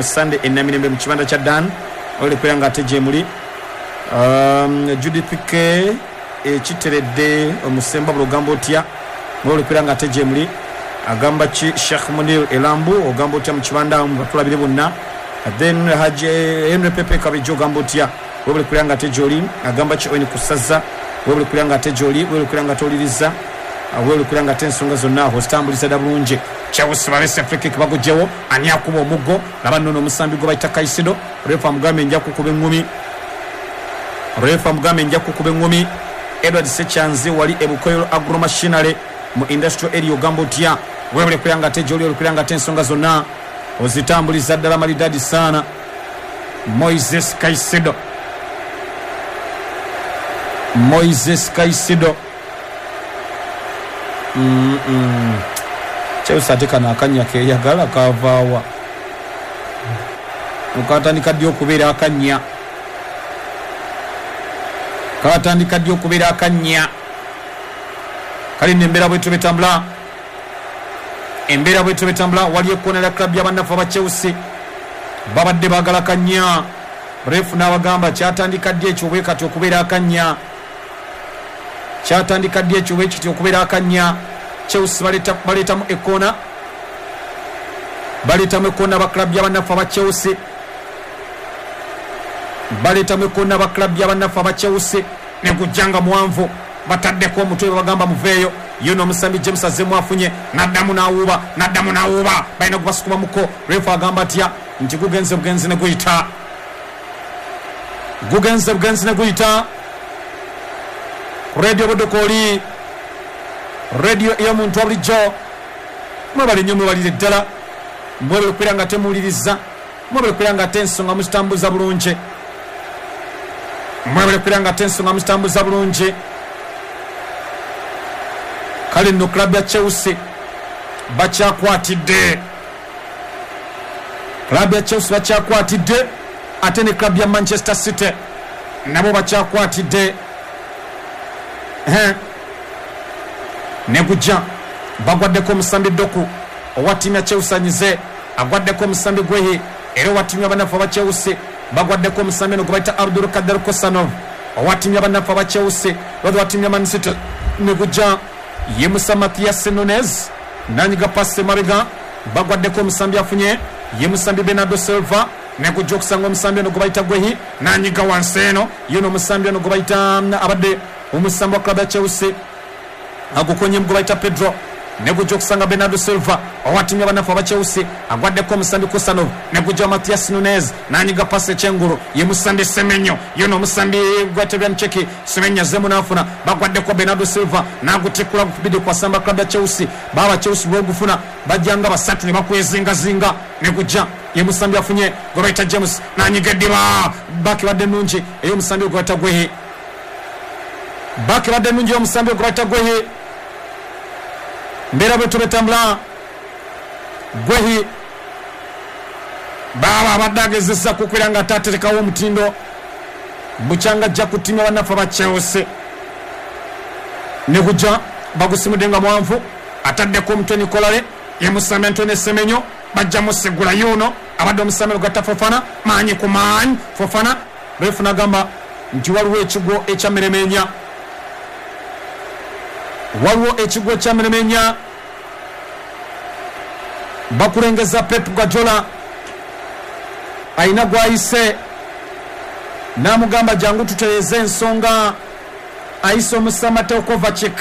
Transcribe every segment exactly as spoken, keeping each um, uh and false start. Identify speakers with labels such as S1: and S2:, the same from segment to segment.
S1: Sunday enamirembe mu kibanda kya Dan ole kwera nga ate gyemuli. um, Judith K ekiteredde omusemba bulogamba otya ole kwera nga ate gyemuli. Agamba ki Sheikh Munir Elambu ogamba otya mu kibanda batulabire bonna. Then Haji Henry Pepe Kabijo ogamba otya webale kwera nga ate gyoli. Agamba ki Owen Kusaza webale kwera nga ate gyoli, webale kwera nga toliriza, webale kwera nga ate ensonga zonna ozitambuliza dda bulungi. Chelsea balese free kick bagugyewo, ani akuba omuggo laba nno omusambi gwe bayita Caicedo. Refa amugambe nja kukuba eŋŋumi, refa amugambe nja kukuba eŋŋumi. Edward Sechanzi wali ebukoyo agro machinery mu industrial area ogamba otya webale kwera nga ate gyoli, webale kwera nga ate ensonga zonna ozitambuliza ddala malidadi sana. Moises Caicedo, Moises Caicedo. mm -mm. Chelsea ate kano akannya keyagala kavaawa, okatandika ddi okubeera akannya, katandika ddi okubeera akannya. Kale nno embeera bwetyo betambula, embeera bwetyo betambula. Wali ekkoona lya club y'abannaffe aba Chelsea babadde baagala kannya, refu n'abagamba kyatandika ddi ekyo bwe kati okubeera akannya, kyatandika ddi ekyo bwe kiti okubeera akannya. Chelsea baleeta baleetamu ekkoona, baleetamu ekkoona ba club y'abannaffe aba Chelsea, baleetamu ekkoona ba club y'abannaffe aba Chelsea. Ne gujjanga muwanvu, bataddeko omutwe babagamba muveeyo. Yo n'omusambi James azzeemu afunye, n'addamu n'awuuba, n'addamu n'awuuba, balina gubasukumamuko. Refu agamba atya nti gugenze bugenzi ne guyita, gugenze bugenzi ne guyita. Ku Radio Budokooli, radio ey'omuntu wa bulijjo, mwebale nnyo, mwebalire ddala, mwebale okubeera nga temuwuliriza, mwebale okubeera nga ate ensonga muzitambuza bulungi, mwebale okubeera nga ate ensonga muzitambuza bulungi. Kale nno club ya Chelsea bakyakwatidde, club ya Chelsea bakyakwatidde, ate ne club ya Manchester City nabo bakyakwatidde. Ne gujja bagwaddeko omusambi Doku owa ttiimu ya Chelsea anyize, agwaddeko omusambi Gwehi, era owa ttiimu y'abannaffe aba Chelsea bagwaddeko omusambi eno gwe bayita Abdul Kader Kosanov owa ttiimu y'abannaffe aba Chelsea, lwazi owa ttiimu ya Man City. Ne gujja ye Musa Mathias Nunes nanyiga pasi emabega, bagwaddeko omusambi afunye ye musambi Bernardo Silva. Ne gujja okusanga omusambi ono gwe bayita Gwehi nanyiga wansi eno, ye n'omusambi ono gwe bayita abadde omusambi wa club ya Chelsea agukonye gwe bayita Pedro. Ne gujja okusanga Bernardo Silva owa ttiimu y'abannaffe aba Chelsea agwaddeko omusambi Kusanov. Ne gujja Mathias Nunes nanyiga pasi ekyengulu ye musambi Semenyo, ye n'omusambi gwatebya Cheki Semenyo azzeemu n'afuna, bagwaddeko Bernardo Silva n'agutikkula gukubidde kwasamba club ya Chelsea. Baaba Chelsea bw'ogufuna bajjanga basatu ne bakwezingazinga. Ne gujja ye musambi afunye gwe bayita James nanyiga eddiba, baaki badde nnungi ey'omusambi gwe bayita Gwehi, baaki badde nnungi ey'omusambi gwe bayita Gwehi. Mbeera bwetyo betambula. Gwehi baaba abadde agezesa kukwera nga ataterekawo omutindo bukyanga ajja ku ttiimu y'abannaffe aba Chelsea. Ne gujja bagusimudde nga muwanvu, ataddeko omutwe Nikolale ye musambi Antoine Semenyo, bajja musigula yuno abadde omusambi ogatta Fofana, maanyi ku maanyi Fofana. Refu n'agamba nti waliwo ekigwo ekyameremenya, waliwo ekigwo ekyameremenya. Bakulengeza Pep Guardiola ayina gwayise n'amugamba jangu tutereeze ensonga. Ayise omusambi Mateo Kovacic,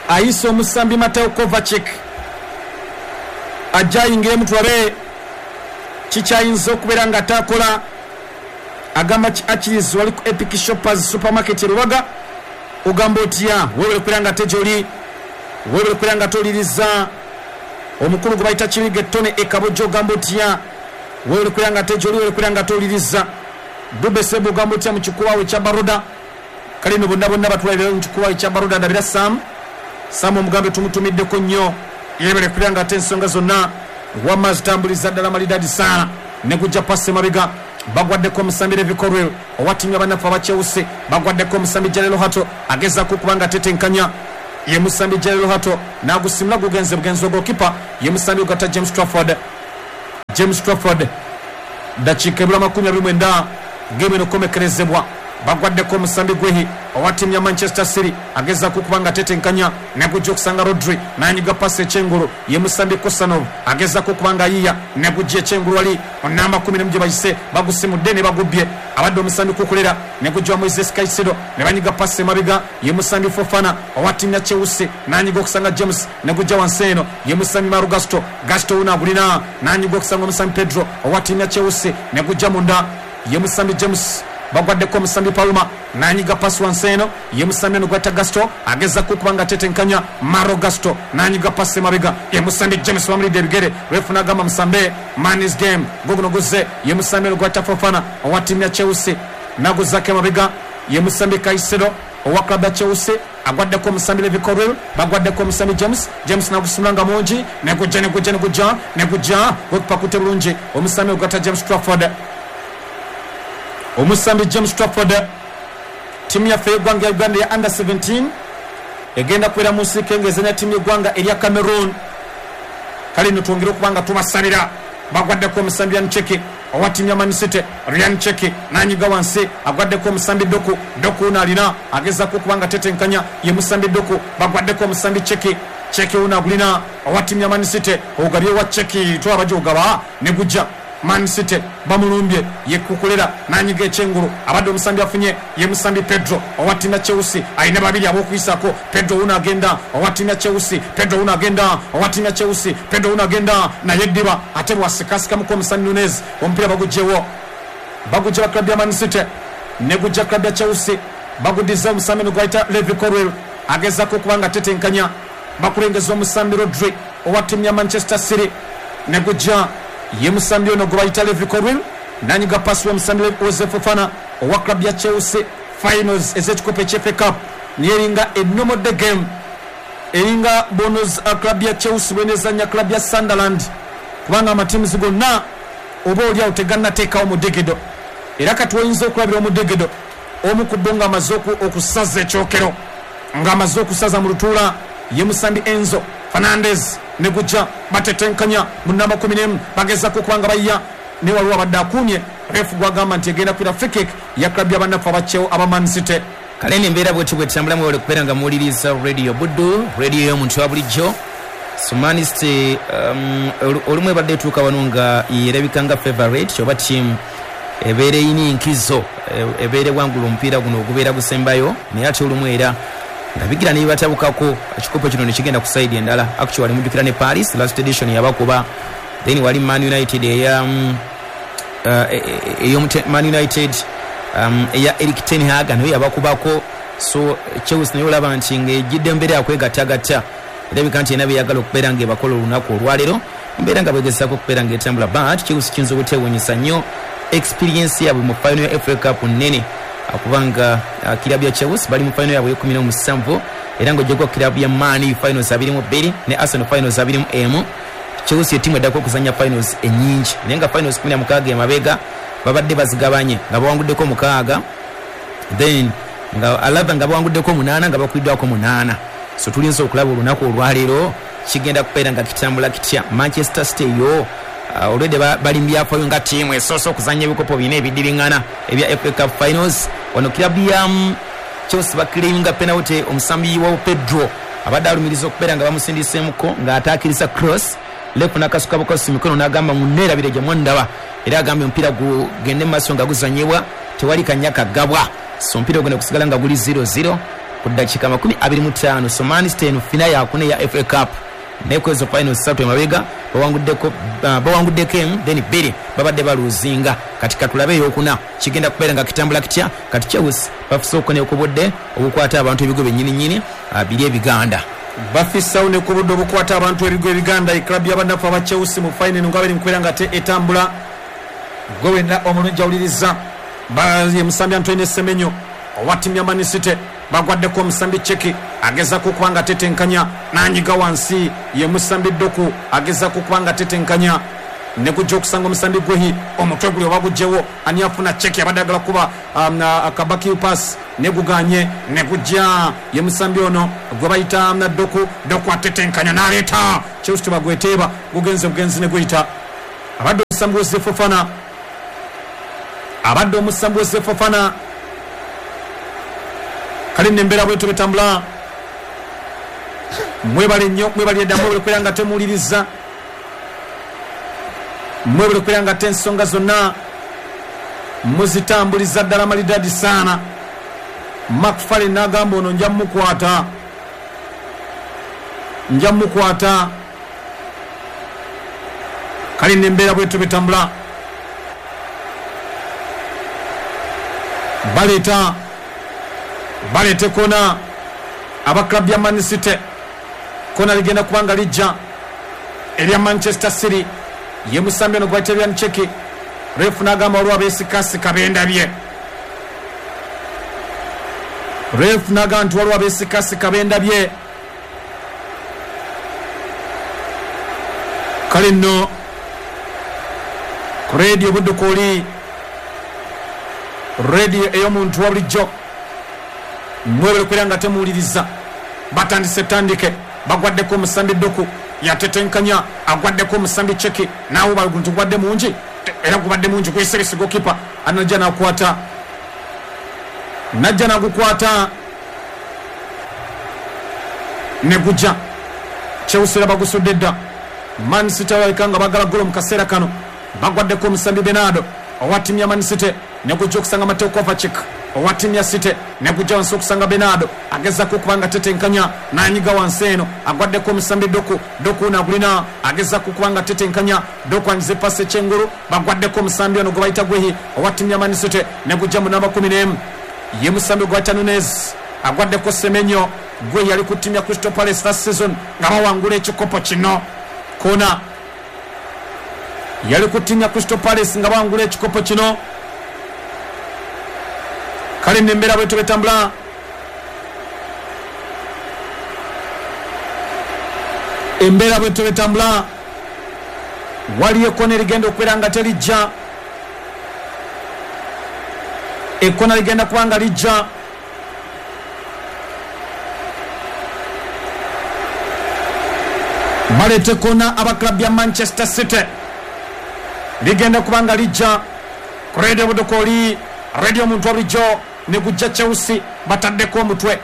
S1: ayise omusambi Mateo Kovacic ajja ayingiremu tulabe kikyayinza okubeera nga atakola. Agamba ki Achilles wali ku Epic Shoppers Supermarket e Rubaga, ogamba otya webale kubeera nga ate gyoli, webale kubeera nga toliriza. Omukulu gwe bayita Kiriga Ettone e Kabojja ogamba otya webale kubeera nga ate gyoli, webale kubeera nga toliriza. Dube Sebo ogamba otya mu kikubawo ekya Baroda. Kale nno bonna bonna batulabira mu kikubawo ekya Baroda. Ndabira Sam, Sam omugambe tumutumiddeko nnyo, yebale kubeera nga ate ensonga zonna wamma zitambuliza ddala malidadi sana. Ne gujja pasi emabega, bagwaddeko omusambi Levi Colwill owa ttiimu y'abannaffe aba Chelsea, bagwaddeko omusambi Jarelo Hato agezaako okuba nga tetenkanya ye musambi Jarelo Hato n'agusimula gugenze bugenzi. Ogokipa ye musambi ogatta James Trafford, James Trafford. Dakiika ebula makumi abiri mwenda game eno komekerezebwa. Bagwaddeko omusambi gwehi owa ttiimu ya Manchester City agezaako okuba nga atetenkanya negujja okusanga Rodri n'anyiga pasi ekyengulu ye musambi Kosanov agezaako okuba nga ayiya negujja ekyengulu wali onamba kumi n'emu gye bayise bagusimudde ne bagubbye abadde omusambi Kukulera negujja wa Moises Caicedo ne banyiga pasi emabega ye musambi Fofana owa ttiimu ya Chelsea n'anyiga okusanga James negujja wansi eno ye musambi Maru Gasto Gasto wuno agulina n'anyiga okusanga omusambi Pedro owa ttiimu ya Chelsea negujja munda ye musambi James. Bagwaddeko omusambi Palma n'anyiga pasi wansi eno ye musambi ono gwata Gasto agezaako okuba nga atetenkanya Maro Gasto n'anyiga pasi emabega ye musambi James bamulidde ebigere refu n'agamba musambe man is game goguno guzze ye musambi ono gwata Fofana owa ttiimu ya Chelsea n'aguzzaako emabega ye musambi Caicedo owa club ya Chelsea agwaddeko omusambi Levi Colwill bagwaddeko omusambi James James n'agusimula nga mungi negujja negujja negujja negujja gwekupakute bulungi omusambi ogwata James Trafford. Omusambi James Trafford. Ttiimu yaffe y'eggwanga ya Uganda ya under seventeen egenda kubeera mu nsiike ng'ezannya ttiimu y'eggwanga erya Cameroon. Kale nno twongere okuba nga tubasabira. Bagwaddeko omusambi Ryan Cheki owa ttiimu ya Man City. Ryan Cheki n'anyiga wansi agwaddeko omusambi Doku Doku ono alina agezaako okuba nga tetenkanya ye musambi Doku. Bagwaddeko omusambi Cheki Cheki ono agulina owa ttiimu ya Man City ogabye wa Cheki twaba gy'ogaba ne gujja Man City bamulumbye ye Kukulera n'anyiga ekyengulu abadde omusambi afunye ye musambi Pedro owa ttiimu ya Chelsea alina babiri ab'okuyisaako. Pedro wuno agenda owa ttiimu ya Chelsea Pedro wuno agenda owa ttiimu ya Chelsea Pedro wuno agenda naye eddiba ate bwasikasikamuko omusambi Nunez omupiira bagugyewo bagujja ba club ya Man City ne gujja club ya Chelsea baguddiza omusambi ono gwayita Levi Colwill agezaako okuba nga atetenkanya bakulengeza omusambi Rodri owa ttiimu ya Manchester City ne gujja ye musambi ono gwe bayita Levi Colwill n'anyiga pasi w'omusambi Jose Fofana owa club ya Chelsea. Finals ez'ekikopo ekya F A Cup niyo eringa enomodde game eringa bonus club ya Chelsea bwenezannya club ya Sunderland kubanga amatiimuzi gonna oba oliawo tegannateekawo mudegedo era kati oyinza okulabira omudegedo omu ku bo ng'amaze okusaza ekyokero ng'amaze okusaza mu lutuula ye musambi Enzo Fernandez ne gujja batetenkanya mu namba kumi n'emu bagezaako okuba nga bayiya ne waliwo abadde akuumye refu gwagamba nti egenda kwira free kick ya club y'abannaffe abakyewo aba Man City.
S2: Kale eno embeera bwetyo bwetambulamu webale okubeera nga muwuliriza Radio Buddu, radio y'omuntu wa bulijjo. So Man City um, olumu ebadde etuuka wano nga yerabika nga favorite oba ttiimu ebeera eyina enkizo ebeera ewangula omupiira guno ogubeera gusembayo naye ate olumu era nga bigira ne bibatabukako ekikopo kino ne kigenda ku side endala. Actually mujjukira ne Paris last edition yabakuba, then wali Man United eya um, uh, ey'omute Man United um, eya Erik ten Hag nayo yabakubako. So Chelsea nayo olaba nti ng'ejjidde embeera yakwegattagatta erabika nti erina byeyagala okubeera ng'ebakola olunaku olwaleero mbeera nga bwegezaako okubeera ng'etambula but Chelsea kiyinza obuteewuunyisa nnyo experience yaabwe mu final ya F A Cup nnene kubanga uh, kirabu ya Chelsea bali mu final yaabwe ekumi n'omusanvu era ng'oggyeko kirabu ya Man finals abiri mu bbiri ne Arsenal finals abiri mu emu. Chelsea ettiimu eddako okuzannya finals ennyingi naye nga finals kumi na mukaaga emabega babadde bazigabanye nga bawanguddeko mukaaga then nga alaba nga bawanguddeko munaana nga bakubiddwako munaana. So tulinza okulaba olunaku olwaleero kigenda kubeera nga kitambula kitya. Manchester City yo uh, already bali mu byafaayo nga ttiimu esoose okuzannya ebikopo bina ebiddiringana ebya F A Cup finals. Wano kirabu ya Chelsea bakiringa penalty omusambi wa Pedro abadde alumiriza okubeera nga bamusindiseemuko ng'ataakiriza cross lefu n'akasuka bukosi mikono n'agamba munneerabire gye mwandaba era agambye omupiira gugende mu maaso nga guzannyibwa tewali kanya kagabwa. So omupiira ogenda kusigala nga guli zero zero ku ddakiika makumi abiri mu ttaano. So Man City eno fina yakuna eya F A Cup naye ku ezo finals ssatu emabega bawanguddeko uh, bawanguddeko emu then bbiri babadde baluuzinga. Kati katulabe eyokuna kigenda kubeera nga kitambula kitya. Kati Chelsea bafise okukona ku budde obukwata abantu ebigo byennyininyini uh, biri ebiganda
S1: bafisawo ne ku budde obukwata abantu ebigo ebiganda. Eclub y'abannaffe aba Chelsea mu final nga bali mu kubeera nga te etambula gwe wenna omulungi awuliriza ye musambi Antoine Semenyo owa ttiimu ya Man City bagwaddeko omusambi Cheki agezaako okuba nga atetenkanya n'anyiga wansi ye musambi Doku agezaako okuba nga atetenkanya ne gujja okusanga omusambi Gwehi omutwe guli oba gugyewo ani afuna Cheki abadde agala kuba um, akabaki pass ne guganye ne gujja ye musambi ono gwe bayita na Doku Doku atetenkanya n'aleeta Chelsea tebagweteeba gugenze bugenzi ne guyita abadde omusambi Wesley Fofana, abadde omusambi Wesley Fofana. Kale nembeera bwetyo betambula. Mwebale nnyo, mwebale dda, mwebale kubeera nga temuwuliriza, mwebale kubeera nga te ensonga zonna muzitambuliza ddala malidadi sana. Macfarlane n'agamba ono nja mukwata, nja mukwata. Kale nembeera bwetyo betambula. Baleeta baleete kona aba club ya Man City. Kona ligenda kubanga lijja erya Manchester City. Ye musambi ono gwayita Ryan Cheki. Refu n'agamba waliwo abeesikasika bendabye. Refu n'agamba nti waliwo abeesikasika bendabye. Kale nno ku radio Buddu oli radio ey'omuntu wa bulijjo, mwebale kubeera nga temuwuliriza. Batandise tandike, bagwaddeko omusambi Doku, yatetenkanya, agwaddeko omusambi Cheki, naawe baguntu gwadde mungi, era gubadde mungi gweseresi gokipa anajja nakwata, najja nagukwata ne gujja. Chelsea bagusudde dda. Man City balabika nga bagala golo mu kaseera kano. Bagwaddeko omusambi Bernardo owa ttiimu ya Man City, ne gujja okusanga Mateo Kovacic owa ttiimu ya City, ne gujja wansi okusanga Bernardo agezaako okuba nga tetenkanya n'anyiga wansi eno, agwaddeko omusambi Doku. Doku nagulina agezaako okuba nga tetenkanya, Doku anyize pasi ekyengulu, bagwaddeko omusambi ono gwe bayita Gwehi owa ttiimu ya Man City, ne gujja mu namba kumi n'emu ye musambi gwe bayita Nunez, agwaddeko Semenyo. Gwehi yali ku ttiimu ya Crystal Palace last season nga bawangula ekikopo kino. Kona yali ku ttiimu ya Crystal Palace nga bawangula ekikopo kino. Kale nembeera bwetyo betambula. Embeera bwetyo betambula. Waliyo ekkona erigenda okubeera nga terijja, ekkona ligenda kuba nga lijja. Baleeta ekkona aba club ya Manchester City, ligenda kuba nga lijja ku radio Buddu oli radio omuntu wa bulijjo. Ne gujja Chelsea bataddeko omutwe,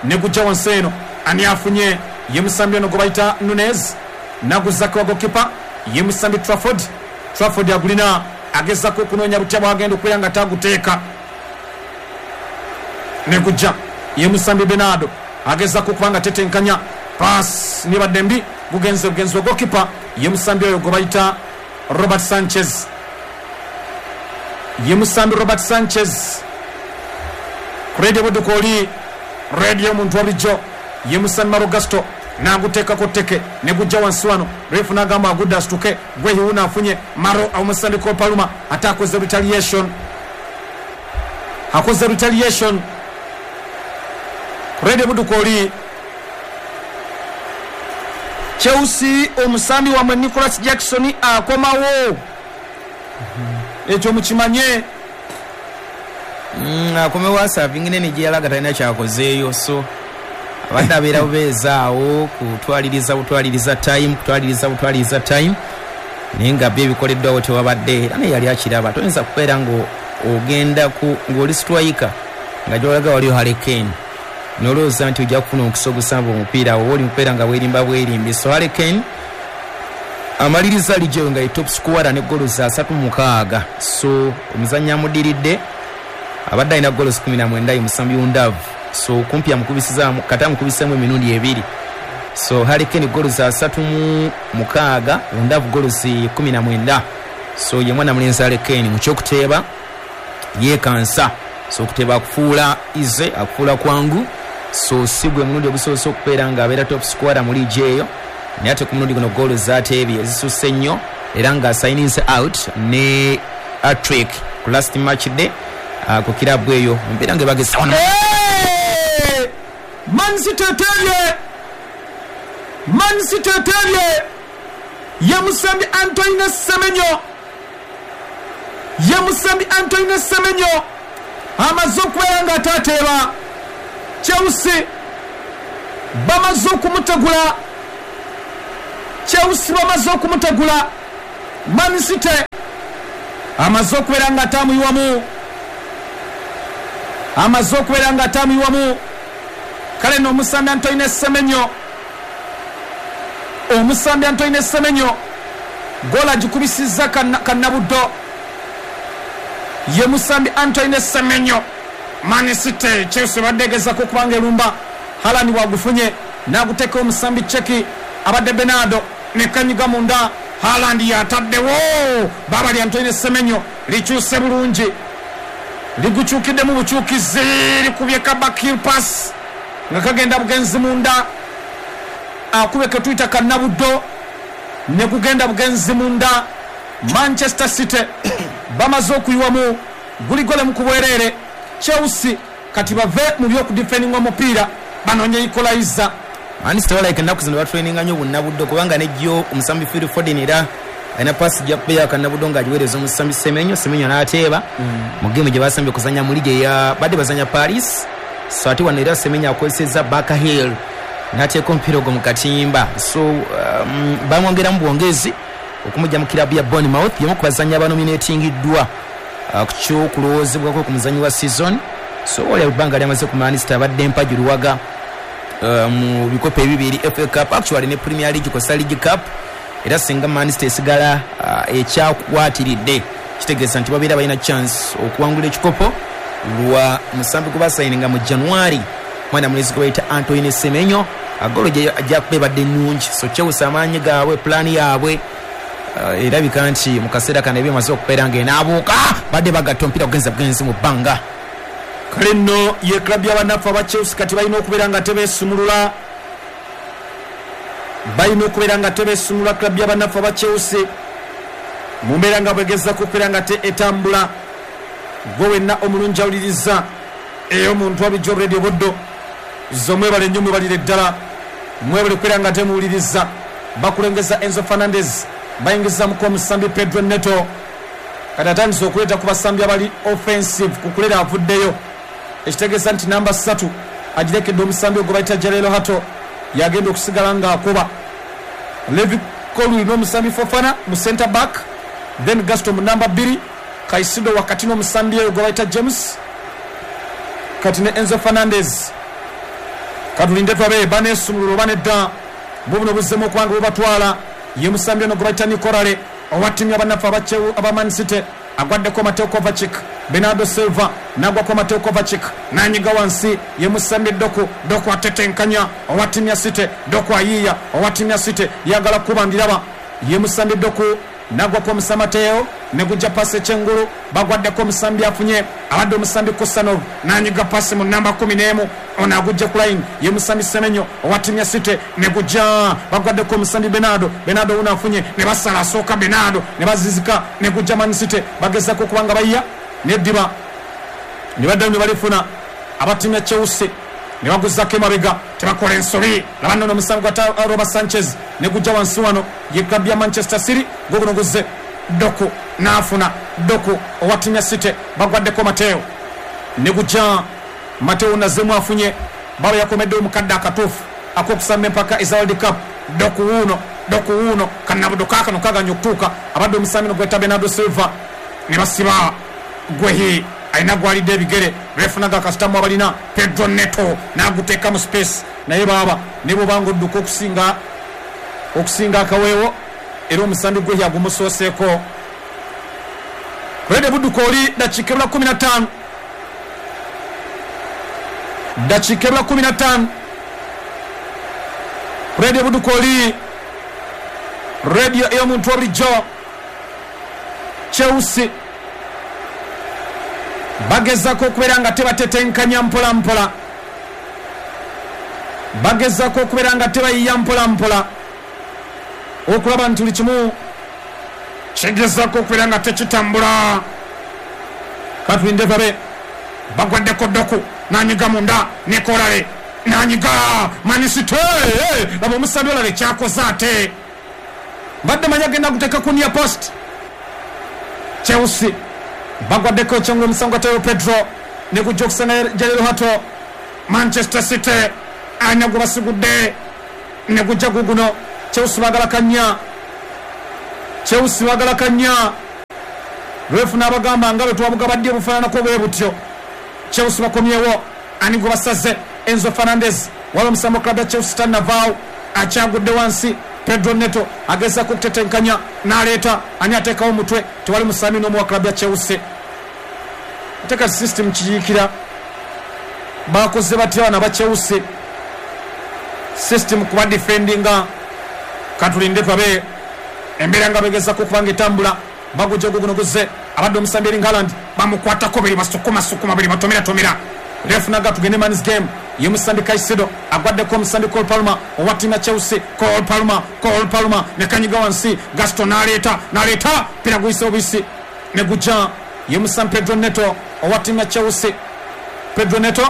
S1: ne gujja wansi eno. Ani afunye? Ye musambi ono gwe bayita Nunez, naguzzako wa gokipa ye musambi Trafford. Trafford agulina agezaako okunoonya butya bwagenda okubeera nga taguteeka. Ne gujja ye musambi Bernardo agezaako okuba nga tetenkanya, pass nibadde mbi, gugenze bugenzi wa gokipa ye musambi oyo gwe bayita Robert Sanchez. Ye musambi Robert Sanchez. Ku radio Buddu oli radio omuntu wa bulijjo ye musambi Marogasto n'aguteekako tteke ne gujja wansi wano. Refu n'agamba agudde asituke, Gwehi wuno afunye Maro omusambi Kopaluma, ate akoze retaliation, akoze retaliation. Ku radio Buddu oli
S3: Chelsea omusambi wamwe Nicholas Jackson akomawo,
S1: ekyo mukimanye.
S2: Mm, akomewo asavingi nene gye yalaga talina kyakozeeyo, so abadde abeera bubeezaawo kutwaliriza butwaliriza time, kutwaliriza butwaliriza time, naye nga byo ebikoleddwawo tewabadde. Era naye yali akiraba, toyinza kubeera ng'ogenda ku ng'oli striker nga gy'olaga waliyo Harry Kane nolowooza nti ojja kufuna omukisa ogusamba omupiira awo, oba oli mukubeera nga weerimba bwerimbi. So Harry Kane amaliriza liigi eyo nga ye top scorer ne goals asatu mu mukaaga. So omuzannyi amuddiridde abadde alina goals kumi na mwenda ye musambi Undavu, so kumpi amukubisizaamu kata amukubiseemu emirundi ebiri. So Harry Kane goals asatu mu mukaaga, Undavu goals kumi na mwenda. So ye mwana mulenzi Harry Kane mu kyokuteeba yeekansa, so okuteeba akufuula ize, akufuula kwangu. So si gwe mulundi ogusoose okubeera ng'abeera top scorer mu liigi eyo, naye ate ku mulundi guno goals z'ateebye ezisusse nnyo, era ng'asayininze out ne hat-trick ku last match day ku kirabu eyo mbeera nga ebagesa.
S1: Man City eteebye, Man City eteebye ye musambi Antoine Semenyo, ye musambi Antoine Semenyo amaze okubeera nga atateeba. Chelsea bamaze okumutegula, Chelsea bamaze okumutegula. Man City Amaze okubeera nga atamuyiwamu, amaze okubeera nga atamuyiwamu. Kale n'omusambi Antoine Semenyo, omusambi Antoine Semenyo gola agikubisizza kannabuddo. Ye musambi Antoine Semenyo. Man City Chelsea badde egezaako okubanga erumba. Haaland bwagufunye n'aguteeka omusambi Cheki abadde Bernardo ne kanyiga munda. Haaland yataddewo baba lya Antoine Semenyo likyuse bulungi, ligukyukiddemu bukyukizi, likubye kabakil pass nga kagenda bugenzi munda, akube ketuyita kannabuddo ne gugenda bugenzi munda. Manchester City bamaze okuyiwamu guli gole mu kubwereere. Chelsea kati bave mu by'okudifendinga omupiira banoonye equalizer.
S2: Man City balabika ennaku zino batraininga nnyo bunnabuddo, kubanga nejjo omusambi Phil Foden era alina paasi gyakubeera kannabuddo ng'agiweereza omusambi Semenyo, Semenyo n'ateeba mu geemu gye basambye okuzannya mu liigi eya badde bazannya Paris. So ate wano era Semenyo akozesezza back heel n'ateeka omupiira ogwo mu katimba. So um, bamwongeramu bwongezi okumujja mu kirabu ya Bournemouth, y'omu ku bazannyi abanominatingiddwa uh, ku ky'okulowoozebwako ku muzannyi wa season. So oli ebbanga lyamaze ku Man City abadde mpagi luwaga uh, mu bikopo ebibiri, F A Cup actually ne Premier League kosa League Cup. Era singa Man City esigala uh, ekyakwatiridde kitegeeza nti babeera balina chance okuwangula ekikopo lwa musambi gwe basayininga mu January, mwana mulenzi gwe bayita Antoine Semenyo. Agolo gyakuba ebadde nnungi. So Chelsea amaanyi gaabwe, pulaani yaabwe uh, erabika nti mu kaseera kano ebyemaze okubeera ng'enaabuuka, badde bagatta omupiira kugenza bugenzi mu bbanga.
S1: Kale nno ye club y'abanafu aba Chelsea kati balina okubeera nga tebeesumulula, balina okubeera nga tebeesumulula club y'abanafu aba Chelsea mu mbeera nga bwegezaako okubeera nga te etambula. Gwe wenna omulungi awuliriza ey'omuntu wabijja Radio Buddo zo, mwebale nnyo, mwebalire ddala, mwebale okubeera nga temuwuliriza. Bakulengeza Enzo Fernandez, bayingizamuko omusambi Pedro Neto. Kati atandise okuleeta ku basambi abali offensive, kukulera avuddeyo, ekitegeeza nti namba ssatu agirekedde omusambi ogwo bayita Jarelo Hato, yagenda okusigala ng'akuba. Levi Colwill n'omusambi Fofana mu center back, then Gaston mu namba bbiri, Caicedo wakati n'omusambi oyo gwe bayita James, kati ne Enzo Fernandez. Katulinde twabe baneesumulula oba nedda. Bubuno buzzemu okubanga bubatwala. Ye musambi ono gwe bayita Nicolale owa ttiimu y'abannaffe aba Man City, agwaddeko Mateo Kovacic. Bernardo Silva n'agwako Mateo Kovacic n'anyiga wansi. Ye musambi Doku, Doku atetenkanya owa ttiimu ya City, Doku ayiiya owa ttiimu ya City, yagala kuba ndiraba. Ye musambi Doku nagwako omusamateo ne gujja pasi ekyengulu, bagwaddeko omusambi afunye abadde omusambi Kusanov n'anyiga pasi mu namba kumi n'emu, ono agujja ku line. Ye musambi Semenyo owa ttiimu ya City ne gujja, bagwaddeko omusambi Bernardo, Bernardo wuno afunye ne basala asooka Bernardo ne bazizika ne gujja Man City, bagezaako okubanga bayiya neddiba ne baddayo ne balifuna aba ttiimu ya Chelsea ne baguzzako emabega, tebakola ensobi. Laba nno omusambi gwa Robert Sanchez ne gujja wansi wano ye club ya Manchester City, guguno guzze Doku n'afuna Doku owa ttiimu ya City, bagwaddeko Mateo ne gujja Mateo nazzemu afunye, baba yakomedde omukadde akatuufu ak'okusamba empaka eza World Cup. Doku wuuno, Doku wuuno, kannabudo kaakano kaganya okutuuka, abadde omusambi no gweta Bernardo Silva ne basiba Gwehi alina gwalidde ebigere, refunaga akasitamu abalina Pedro Neto n'aguteeka mu space, naye baaba ne bw'obanga odduka okusinga okusinga akaweewo, era omusambi Gwehi agumusooseeko. Rede Budduka oli dakiika ebula kumi na ttaano, dakiika ebula kumi na ttaano. Rede Budduka oli radio ey'omuntu wa bulijjo. Chelsea bagezaako okubeera nga tebatetenkanya mpola mpola, bagezaako okubeera nga tebayiya mpola mpola, okulaba nti buli kimu kigezaako okubeera nga tekitambula. Katulinde babe bagwaddeko Doku n'anyiga munda Nicolale n'anyiga Man City, laba omusambi olala ekyakoze ate mbadde manyi agenda kuteeka ku near post. Chelsea bagwaddeko ekyengulu omusango gwa Teo Pedro ne gujja okusanga Jarelo Hato. Manchester City alina gwe basigudde ne gujja guguno. Chelsea baagala kannya, Chelsea baagala kannya. Refu n'abagamba nga bwe twabugabadde obufaananako bwe butyo. Chelsea bakomyewo, ani gwe basaze? Enzo Fernandez. Waliwo omusambi wa club ya Chelsea tannavaawo, akyagudde wansi. Pedro Neto agezaako okutetenkanya n'aleeta, ani ateekawo omutwe? Tewali musambi n'omu wa club ya Chelsea. Ate kati system kiyiikira bakoze batya bano aba Chelsea? System kuba defendinga, katulinde tulabe embeera nga begezaako okuba nga etambula. Bagujja guguno guzze, abadde omusambi Erling Haaland bamukwatako biri basukumasukuma biri batomeratomera. Refu naga tugende man's game. Ye musambi Caicedo agwaddeko omusambi Cole Palmer owa ttiimu ya Chelsea. Cole Palmer, Cole Palmer ne kanyiga wansi. Gaston n'aleeta, n'aleeta pira guyise obuyisi ne gujja. Ye musambi Pedro Neto owa ttiimu ya Chelsea. Pedro Neto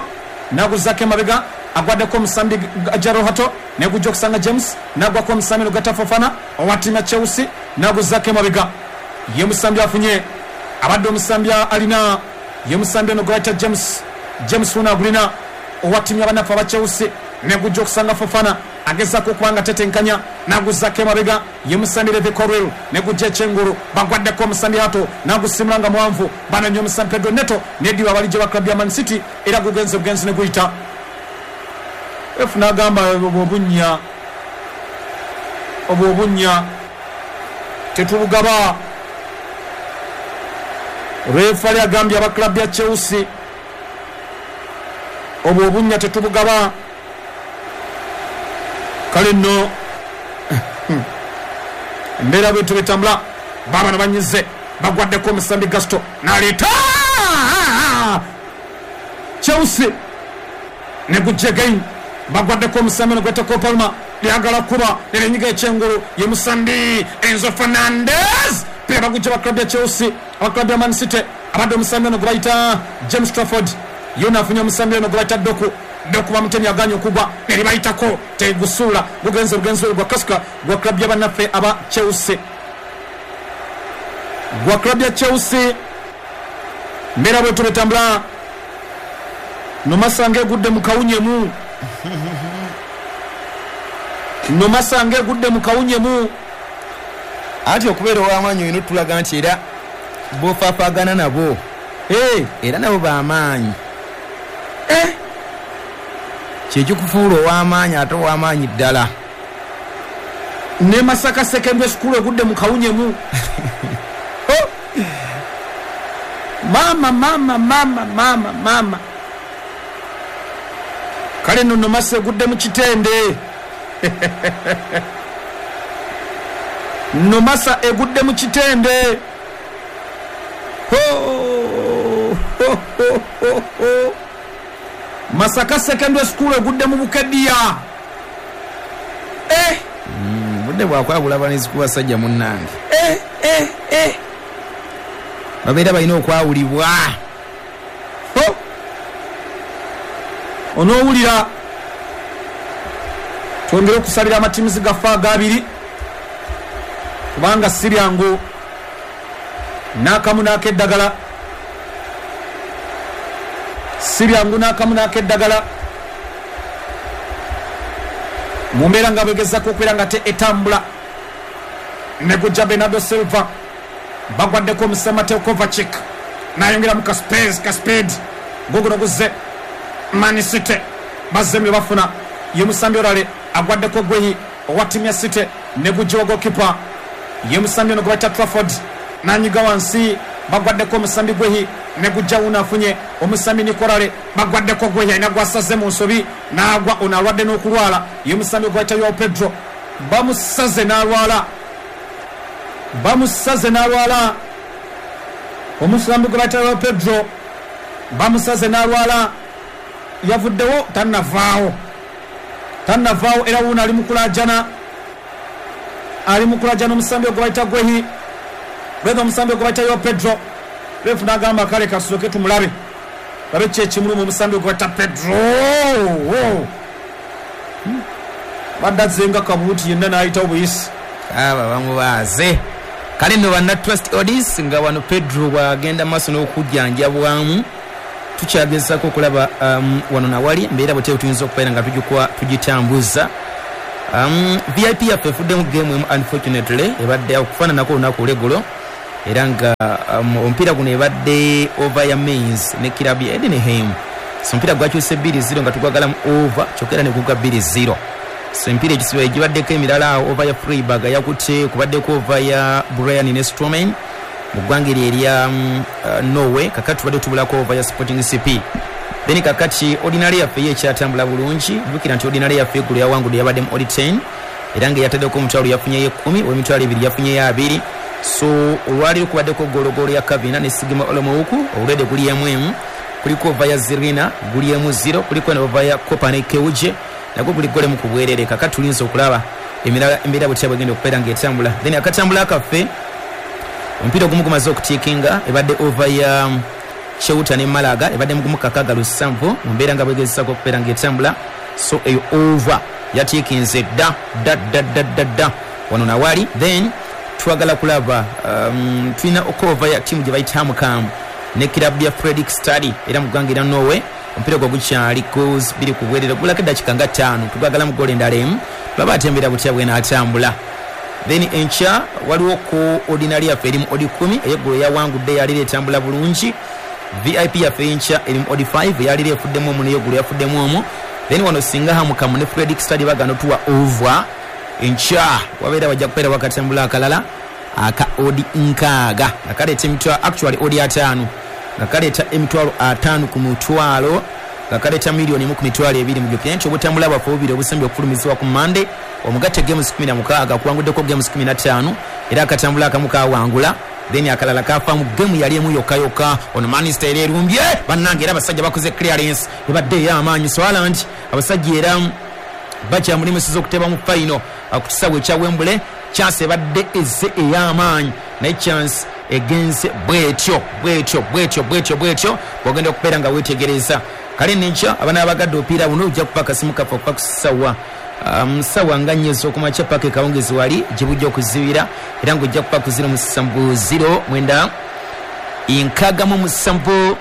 S1: n'aguzzaako emabega, agwaddeko omusambi Jorrel Hato ne gujja okusanga James, n'agwako omusambi Lugata Fofana owa ttiimu ya Chelsea n'aguzzaako emabega. Ye musambi afunye, abadde omusambi alina ye musambi ono gwe bayita James. James wuno agulina owa ttiimu y'abannaffe aba Chelsea ne gujja okusanga Fofana, agezaako okuba nga tetenkanya n'aguzzaako emabega. Ye musambi Levi Colwill ne gujja ekyengulu, bagwaddeko omusambi Hato n'agusimula nga muwanvu. Banonye omusambi Pedro Neto n'eddiba abalijja ba club ya Man City, era gugenze bugenzi ne guyita. Refu n'agamba obwo obunnya, obwo obunnya tetubugaba. Refu ali agambye aba club ya Chelsea obwo obunnya tetubugaba. Kale nno embeera bwetu betambula, baabano banyize, bagwaddeko omusambi Gasto n'aleeta Chelsea ne gujja again. Bagwaddeko omusambi ono gwetako Palmer, lyagala kuba nerenyiga ekyengulu. Ye musambi Enzo Fernandez, pira bagujja ba club ya Chelsea, aba club ya Man City. Abadde omusambi ono gwe bayita James Trafford, yona afunye omusambi ono gwe bayita Doku. Doku bamutemye aganye okugwa neribayitako, tegusuula, gugenze bugenzi gwa kasuka gwa club y'abannaffe aba Chelsea, gwa club ya Chelsea. Mbeera bwetu betambula, Nomasanga egudde mu kawunyemu, Nomasanga egudde mu kawunyemu.
S2: Anti okubeera ow'amaanyi olina otulaga nti era b'ofaafaagana nabo
S1: Hey,
S2: era nabo b'amaanyi.
S1: eh,
S2: Kyekikufuula ow'amaanyi ate ow'amaanyi ddala.
S1: Ne Masaka Secondary School egudde mu kawunyemu. Oh. Mama mama mama mama mama. Kale nno Nomasa egudde mu kitende. Nomasa egudde mu kitende. Ho, ho, ho, ho, ho. Masaka Secondary School egudde mu Bukedea. Eh,
S2: Mm, budde bwakwagula abalenzi ku basajja munnange.
S1: eh, eh, eh.
S2: Babeera balina okwawulibwa.
S1: Ho. Onoowulira twongere okusabira amatiimuzi gaffe agabiri, kubanga si byangu n'akamu n'akeddagala, si byangu n'akamu n'akeddagala. Mu mbeera nga begezaako okubeera nga te etambula, ne gujja Bernardo Silva, bagwaddeko omusambi Mateo Kovacic n'ayongeramu kaspace kaspeed, guguno guzze Man City bazzemu bye bafuna. Ye musambi Orale agwaddeko Gwehi owa ttiimu ya City ne gujja wa goalkeeper. Ye musambi ono gwe bayita Trafford n'anyiga wansi, bagwaddeko omusambi Gwehi ne gujja wuno afunye omusambi Nikolale, bagwaddeko Gwehi alina gwasaze mu nsobi n'agwa, ono alwadde n'okulwala. Ye musambi gwe bayita Joao Pedro bamusaze n'alwala, bamusaze n'alwala. Omusambi gwe bayita Joao Pedro bamusaze n'alwala, yavuddewo tannavaawo, tannavaawo era wuno ali mu kulaajana, ali mu kulaajana omusambi ogwe bayita Gwehi, lweza omusambi ogwe bayita Joao Pedro. Refu n'agamba kale kasooke tumulabe, labe ki ekimuluma omusambi ogwe bayita Pedro. Hmm. Badde azzenga kabuuti yenna n'ayitawo buyisi.
S2: Aba bamubaaze. Kale nno banna Trust Odis nga wano Pedro bw'agenda maaso n'okujjanjabwamu, tukyagezaako okulaba um, wano nawali embeera bwe tuyinza okubeera nga tugikuwa tugitambuza. Um, V I P yaffe efuddemu game emu unfortunately, ebadde okufaananako olunaku olw'eggulo. Era nga um, omupiira guno ebadde over ya Mainz ne kirabu ya Edenheim. So omupiira gwakyuse bbiri zero nga tugwagalamu over, kyokka era ne gugwa bbiri zero. So emipiira egisiba egibaddeko emirala awo, over ya Freiburg yakutte, kubaddeko over ya Brian ne Stroman mu ggwanga eryo erya um, uh, Norway. Kakati tubadde tubulako over ya Sporting C P. Then kakati ordinary yaffe ye ekyatambula bulungi. Jjukira nti ordinary yaffe eggulo yawangudde yabadde mu odi ten, era nga yataddeko omutwalo yafunyeyo ekkumi, ow'emitwalo ebiri yafunyeyo abiri. So olwaleero kubaddeko gologolo ya Kavina ne Sigma Olomouku, olwedde guli emu emu, kuliko ova ya Zirina guli emu zero, kuliko ne ova ya Kopa ne Keuje nagwo guli golemu ku bwerere. Kakati tulinze okulaba emirala embeera bwetya bwegenda okubeera ng'etambula. Then akatambula kaffe omupiira ogumu gumaze okutiikinga, ebadde ova ya Cheuta ne Malaga, ebadde mugumu kakaaga lusanvu mu mbeera nga bwegezesaako okubeera ng'etambula. So eyo over yatiikinze dda dda dda dda dda dda wano nawali. Then twagala kulaba um, tulina okova ya ttiimu gye bayita Hamkam ne kirabu ya Fredrik Stadi era mu ggwanga erya Norway. Omupiira gwo gukyali goals bbiri ku bwerere, gulako eddakiika nga ttaano, tugwagalamu goolo endala emu, tulaba ate embeera butya bw'enaatambula. Then enkya waliwo ku ordinary yaffe eri mu odi kumi, ey'eggulo yawangudde yalira etambula bulungi. V I P yaffe enkya eri mu odi five, yalira efuddemu omu n'ey'eggulo yafuddemu omu. Then wano singa Hamkam ne Fredrik Stadi bagana otuwa over enkya wabeera wajja kubeera wakatambula akalala aka odi nkaaga nga kaleeta emitwalo, actually odi ataano, nga kaleeta emitwalo ataano ku mutwalo, nga kaleeta miliyoni emu ku mitwalo ebiri. Mujjukire nti obutambula bwaffe bubiri obusembye okufulumizibwa ku Monday, omugatte games kumi na mukaaga kuwanguddeko games kumi na ttaano, era akatambula akamu kawangula, then akalala kafaamu gemu yali emu yokka yokka. Ono Manchester era erumbye bannange, era abasajja bakoze clearance ebadde ey'amaanyi. So Haaland abasajja era bakyamulemeseza okuteba mu final ku kisaawe ekya Wembley. Chance ebadde ezze ey'amaanyi, naye chance egenze bwetyo bwetyo bwetyo bwetyo bwetyo bw'ogenda okubeera nga weetegereza. Kale nenkya abaana abagadde omupiira buno ojja kuba akasimu kaffe okuva ku ssaawa um, ssaawa nga nnya ez'okumakya paka ekawungezi wali gye bujja okuzibira, era ng'ojja kuba ku ziro musanvu ziro mwenda nkaaga mu musanvu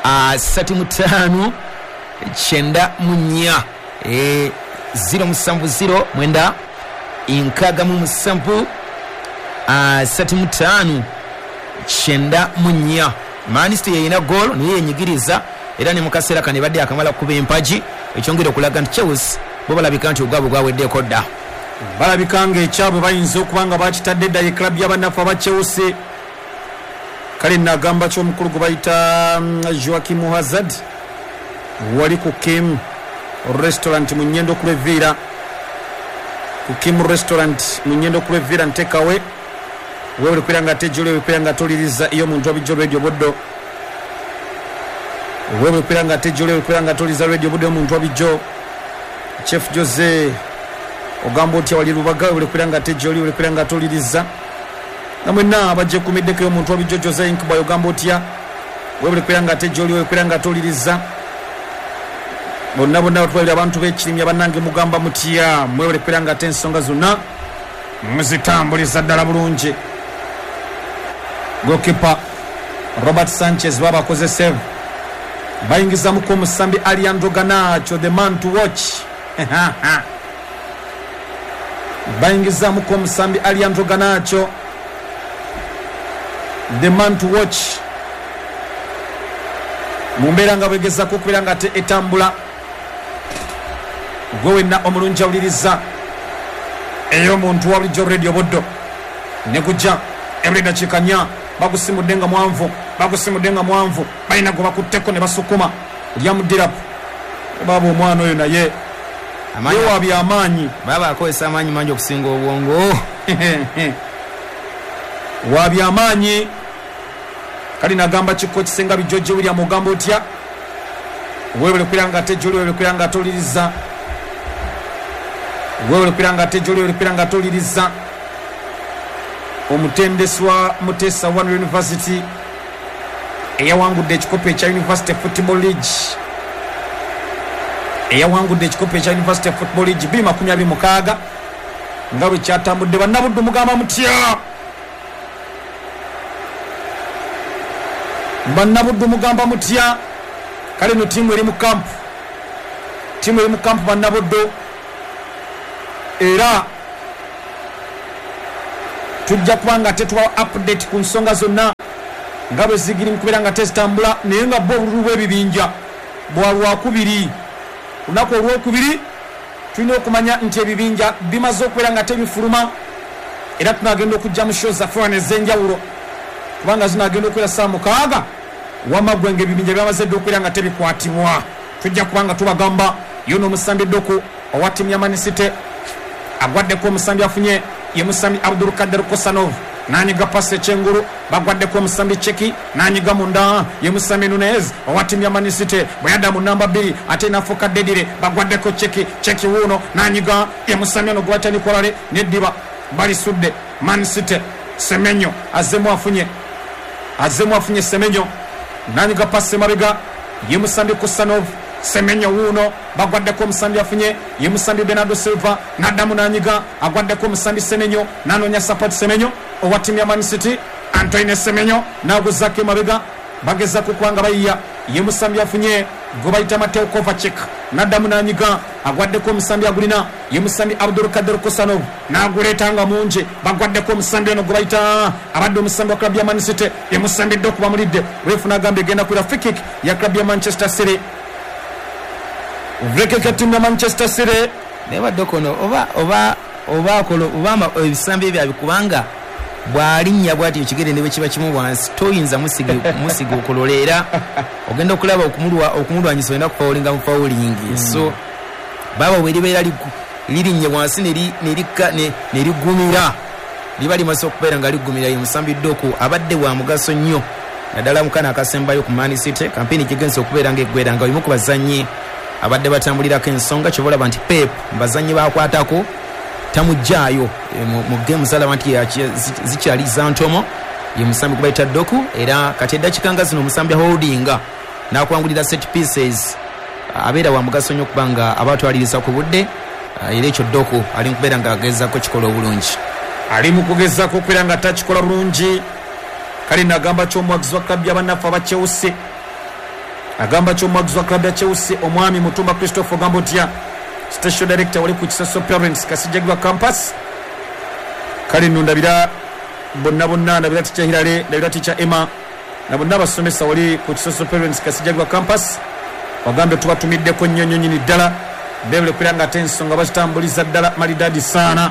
S2: asatu mu ttaano kyenda mu nnya, e, ziro musanvu ziro mwenda nkaaga mu musanvu asatu mu ttaano kyenda mu nnya. Manchester yeyina goal naye yenyigiriza, era ne mu kaseera kano ebadde akamala kuba empagi, ekyongera okulaga nti Chelsea bo balabika nti ogwabwe gwaweddeko dda.
S1: Balabika ng'ekyabwe bayinza okuba nga bakitadde dda ye club y'abannaffe aba Chelsea. Kale nagamba ki omukulu gwe bayita Joachim Hazard wali ku Kim Restaurant mu Nyendo Kulevira, ku Kim Restaurant mu Nyendo Kulevira ntekawe wewe kwira nga tejole kwira nga toliriza iyo muntu abijjo radio boddo, wewe kwira nga tejole kwira nga toliriza radio boddo omuntu abijjo. Chef Jose ogamba otya wali Lubaga, wewe kwira nga tejole wewe kwira nga toliriza namwe na abajje kumiddeko omuntu abijjo Jose Inkba ogamba otya wewe kwira nga tejole wewe kwira nga toliriza bonna bonna batwalira abantu b'ekirimya bannange mugamba mutya mwewere kwira nga ate ensonga zonna muzitambuliza ddala bulungi. Goalkeeper Robert Sanchez baba akoze save, bayingizamuko omusambi Alejandro Garnacho, the man to watch. Bayingizamuko omusambi Alejandro Garnacho, the man to watch, mu mbeera nga bwegezaako okubeera nga ate etambula. Gwe wenna omulungi awuliriza ey'omuntu wa bulijjo radio boddo ne gujja ebuli dakiika nnya, bagusimudde nga mwanvu, bagusimudde nga mwanvu, balina gwe bakutteko ne basukuma lyamuddirapu. Baaba omwana oyo naye ye wa byamaanyi,
S2: baba akozesa amaanyi mangi okusinga obwongo.
S1: Wa byamaanyi. Kali nagamba kiko kisenga bijoje William ogamba otya wewe kwira nga tejoli wewe kwira nga toliriza wewe kwira nga tejoli wewe kwira nga toliriza. Omutendesi wa Mutesa One University eyawangudde ekikopo ekya University Football League, eyawangudde ekikopo ekya University Football League bbiri makumi abiri mukaaga nga bwe kyatambudde. Bannabuddu mugamba mutya, bannabuddu mugamba mutya. Kale no ttiimu eri mu kampu, ttiimu eri mu kampu bannabuddu, era Tujja kuba nga tetubawa update ku nsonga zonna nga bwe zigiri mu kubeera nga tezitambula, naye nga bo obululu bw'ebibinja bwa lwakubiri. Lunaku olwokubiri tulina okumanya nti ebibinja bimaze okubeera nga tebifuluma, era tunagenda okujja mu show zaffe wano ez'enjawulo, kubanga zinagenda okubeera ssaawa mukaaga wamma ggwe ng'ebibinja byamaze dda okubeera nga tebikwatibwa. Tujja kuba nga tubagamba yo n'omusambi Doku owa ttiimu ya Man City agwaddeko omusambi afunye ye musambi Abdulkader Kosanov, nanyiga pasi ekyengulu, bagwaddeko omusambi Cheki nanyiga munda ye musambi Nunez owa ttiimu ya Man City, bwe yadda mu namba bbiri ate nafuuka Dedire, bagwaddeko Cheki, Cheki wuuno nanyiga ye musambi ono gwe bayita Nikolale neddiba balisudde Man City. Semenyo azzemu afunye, azzemu afunye Semenyo nanyiga pasi emabega ye musambi Kosanov. Semenyo wuuno bagwaddeko omusambi afunye ye musambi Bernardo Silva, naddamu nanyiga agwaddeko omusambi Semenyo, nanoonya support Semenyo owa ttiimu ya Man City. Antoine Semenyo naguzaako emabega, bagezaako kubanga bayiya ye musambi afunye gwe bayita Mateo Kovacic, naddamu nanyiga agwaddeko omusambi agulina ye musambi Abdulkader Kosanov, naguleeta nga mungi, bagwaddeko omusambi ono gwe bayita abadde omusambi wa club ya Man City ye musambi Doku bamulidde. Refu nagamba egenda kwira free kick ya club ya Manchester City. Free kick ya ttiimu ya Manchester City.
S2: Naye badde kono oba oba oba akola oba ebisambi ebyo abikubanga bw'alinnya bw'ati ekigere ne bwe kiba kimu wansi toyinza musiga musiga okolola, era ogenda okulaba okumulwa okumulwanyisa olina kufawulinga mu fawulingi. So baba bwe libeera lirinnye wansi ne ligumira, liba limaze okubeera nga ligumira. Ye musambi Doku abadde wa mugaso nnyo naddala mu kana akasembayo ku Man City. Kampeyini gigenze okubeera ng'eggwera nga omu ku bazannyi abadde batambulirako ensonga, kyova olaba nti Pep bazannyi bakwatako tamuggyaayo mu game zalaba nti zikyali za ntomo. Ye musambi gwe bayita Doku, era kati eddakiika nga zino omusambi holdinga n'akwangulira set pieces, abeera wa mugaso nnyo okuba nga abatwaliriza ku budde, era ekyo Doku ali mu kubeera ng'agezaako kikola obulungi,
S1: ali mu kugezaako okubeera nga takikola bulungi. Kale nagamba ky'omuwagizi wa club y'abannaffe aba Chelsea, agamba ky'omuwagizi wa club ya Chelsea omwami Mutumba Christopher ogamba otya, station director wali ku Kisoso Parents Kasijagirwa campus. Kale nno ndabira bonna bonna, ndabira teacher Hilale, ndabira teacher Emma na bonna abasomesa wali ku Kisoso Parents Kasijagirwa campus, wagambe tubatumiddeko nnyo nnyo nnyini ddala bebule kubeera nga ate ensonga bazitambuliza ddala malidadi saana.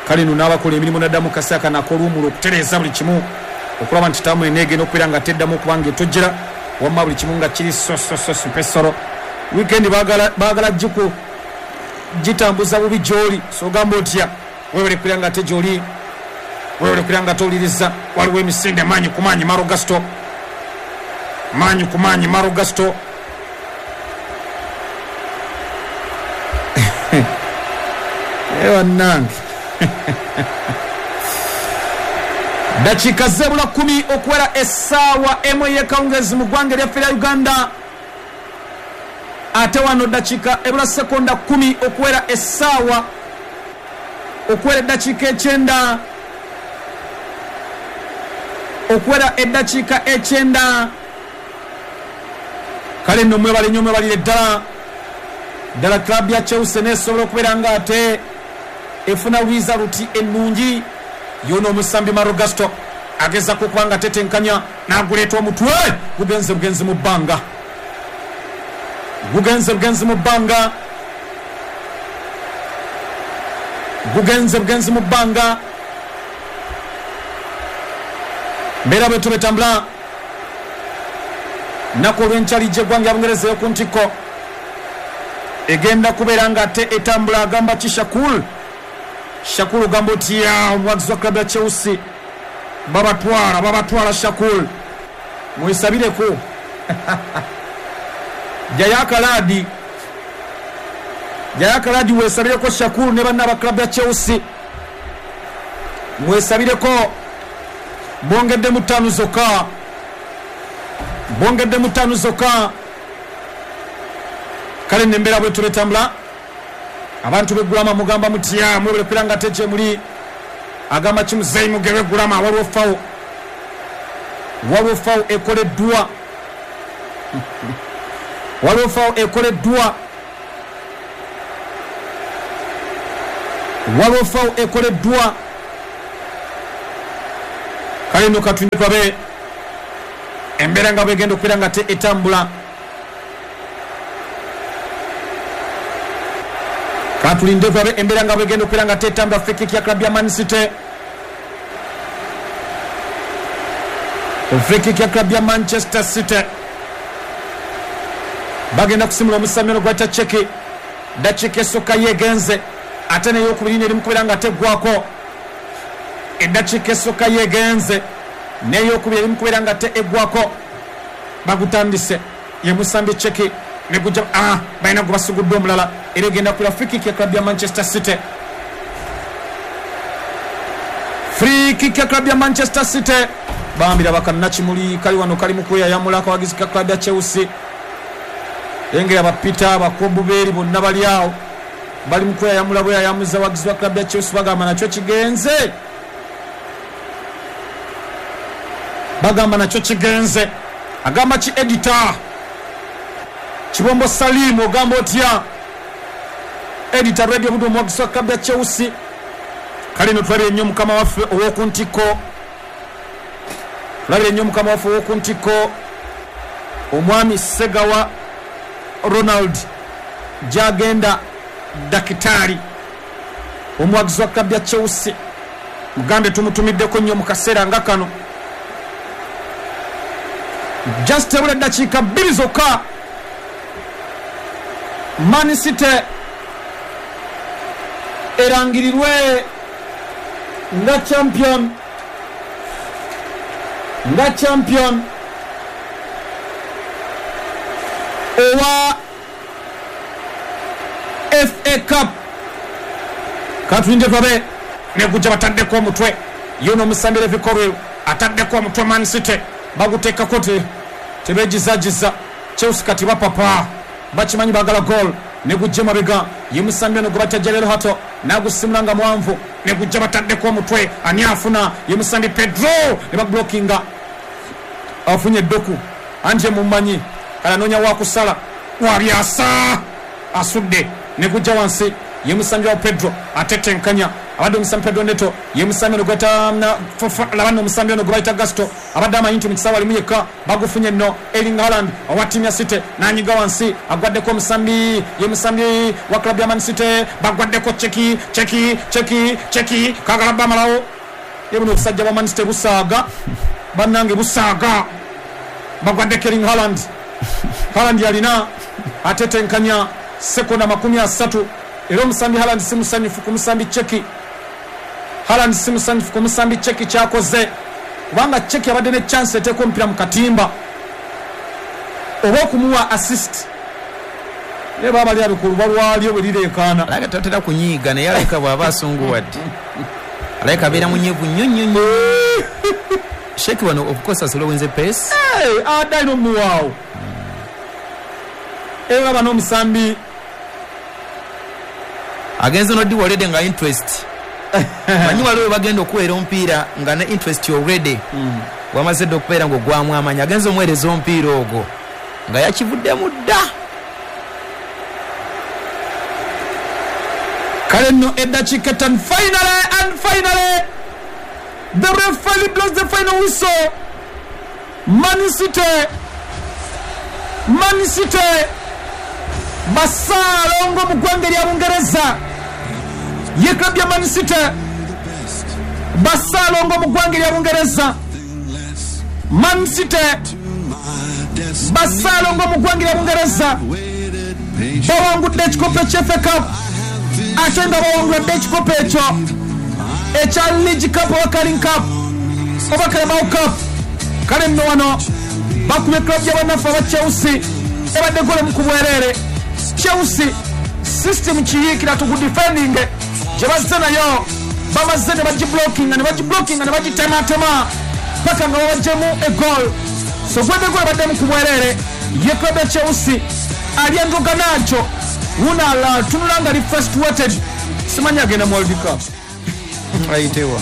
S1: Kale nno n'abakola emirimu naddamu kaseera kano ak'oluwummula okutereeza buli kimu okulaba nti taamu eneegenda okubeera nga teddamu okuba nga etojjera, wamma buli kimu nga kiri sososo pesoro. Weekend baagala baagala giku gitambuza bubi gy'oli, so ogamba otya weewale kubeera nga ate gy'oli, weewale kubeera nga towuliriza. Waliwo emisinde maanyi ku maanyi Maro Gasto, maanyi ku maanyi Maro Gasto. Bannange dakiika zebula kumi okuwera essaawa emu ey'ekawungeezi mu ggwanga eryaffe lya Uganda, ate wano dakiika ebula sekonda kumi okuwera essaawa okuwera eddakiika ekyenda okuwera eddakiika ekyenda. Kale nno mwebale nnyo, mwebalire ddala ddala club ya Chelsea neesobola okubeera nga ate efuna rizaluti ennungi. Yono omusambi Maro Gasto agezaako okuba nga tetenkanya n'aguleeta omutwe, gugenze bugenzi mu bbanga, gugenze bugenzi mu bbanga, gugenze bugenzi mu bbanga. Mbeera bwe tubetambula nnaku olw'enkya liigi y'eggwanga ya Bungereza ey'oku ntikko egenda kubeera nga ate etambula. Agamba ki Shakul, Shakul ogamba otya omuwagizi wa club ya Chelsea, babatwala babatwala Shakul, mwesabireko jayo akalaadi, jayo akalaadi weesabireko Shakul ne banna aba club ya Chelsea, mwesabireko. Bongedde mu ttaano zokka, bongedde mu ttaano zokka. Kale nembeera bwe tuletambula abantu b'eggulama mugamba mutya, mwebale kubeera nga ate gye muli. Agamba ki muzeeyi Mugerwe Gulama, waliwo fawo, waliwo fawo ekoleddwa, waliwo fawo ekoleddwa, waliwo fawo ekoleddwa. Kale nno katulinde tulabe embeera nga bwegenda okubeera nga te etambula. Katulinde tulabe embeera nga bwegenda okubeera nga te etambula. Free kick ya club ya Man City, free kick ya club ya Manchester City. Bagenda kusimula omusambi ono gwayita Cheki. Dakiika esooka yegenze, ate n'eyokubiri eri mu kubeera nga teggwako. Eddakiika esooka yegenze n'eyokubiri eri mu kubeera nga te eggwako. Bagutandise ye musambi Cheki negujja, ah, balina gwe basugudde omulala, era egenda kubeera free kick ya club ya Manchester City. Free kick ya club ya Manchester City. Bambira bakannakimuli kali wano kali mu kweyayamula akawagizi ka club ya Chelsea. Engera bapita abakobubeeri bonna bali awo bali mu kweyayamula bweyayamuza wagizi wa club ya Chelsea, bagamba nakyo kigenze, bagamba nakyo kigenze. Agamba ki editor Kibombo Salim, ogamba otya editor Radio Budu omuwagizi wa club ya Chelsea? Kale no tulabire nnyo mukama waffe ow'oku ntikko, tulabire nnyo mukama waffe ow'oku ntikko omwami Segawa Ronald gyagenda dakitaali omuwagizi wa club ya Chelsea. Mugambe tumutumiddeko nnyo mu kaseera nga kano. Just ebula eddakiika bbiri zokka Man City erangirirwe nga champion, nga champion owa F A Cup. Katulinde tulabe negujja bataddeko omutwe yono omusambi Levi Colwill ataddeko omutwe. Man City baguteekako te tebeegizagiza. Chelsea kati bapapa bakimanyi baagala goal. Negujja mabega ye musambi ono gwe bayita Jorrel Hato n'agusimula nga mwanvu. Negujja bataddeko omutwe, ani afuna? Ye musambi Pedro ne bablockinga, afunye eddoku anje mumanyi kale anoonya wakusala wabyasa asudde. Negujja wansi ye musambi wa Pedro atetenkanya abadde omusambi Pedro Neto ye musambi ono gweta labano omusambi ono gwe bayita Gasto abadde amanyi nti mu kisaawe alimu yekka. Bagufunye nno Erling Haaland owa ttiimu ya City n'anyiga wansi agwaddeko omusambi ye musambi wa club ya Man City. Bagwaddeko Cheki Cheki Cheki Cheki kagala bamalawo. Ye buno obusajja bwa Man City busaaga bannange busaaga. Bagwaddeko Erling Haaland, Haaland yalina atetenkanya sekonda makumi asatu. Era omusambi Haaland si musanyufu ku musambi Cheki. Haaland si musanyufu ku musambi Cheki kyakoze, kubanga Cheki abadde ne chance eteeka omupiira mu katimba oba okumuwa assist. Naye baba bali abikulu balwalyo bwe lireekaana.
S2: Alabika tatera kunyiiga naye alabika bw'aba asunguwadde alabika abeera munyiivu nnyo nnyo nnyo. Sheki wano of course aslowinze pace.
S1: Hey, adde alina omuwaawo. Era bano omusambi
S2: agenze noddi already nga interest. Manyi waliwo bagenda okuweera omupiira nga ne interest already. Mm. Wamaze dda okubeera ng'ogwamu amaanyi, agenze omuweereza omupiira ogwo nga yakivuddemu dda.
S1: Kale nno eddakiika ttaano, finally and finally the referee blows the final whistle. Man City, Man City basaalongo mu ggwanga lya Bungereza. Ye club ya Man City basaalongo mu ggwanga lya Bungereza. Man City basaalongo mu ggwanga lya Bungereza bawangudde ekikopo ekya F A Cup, ate nga bawangudde ekikopo ekyo ekya League Cup oba Carling Cup oba Carabao Cup. Kale nno wano bakubye club y'abannaffe aba Chelsea ebadde gole mu kubwereere. Chelsea system kiyiikira tuku defending gye bazze nayo, bamaze ne bagiblockinga ne bagiblockinga ne bagitematema paka nga babaggyemu egol. So gwedde gole baddemu ku bwereere. Ye club ya Chelsea Alejandro Garnacho wunala tunula nga li first weighted, simanyi agenda mu World Cup
S2: ayitewa.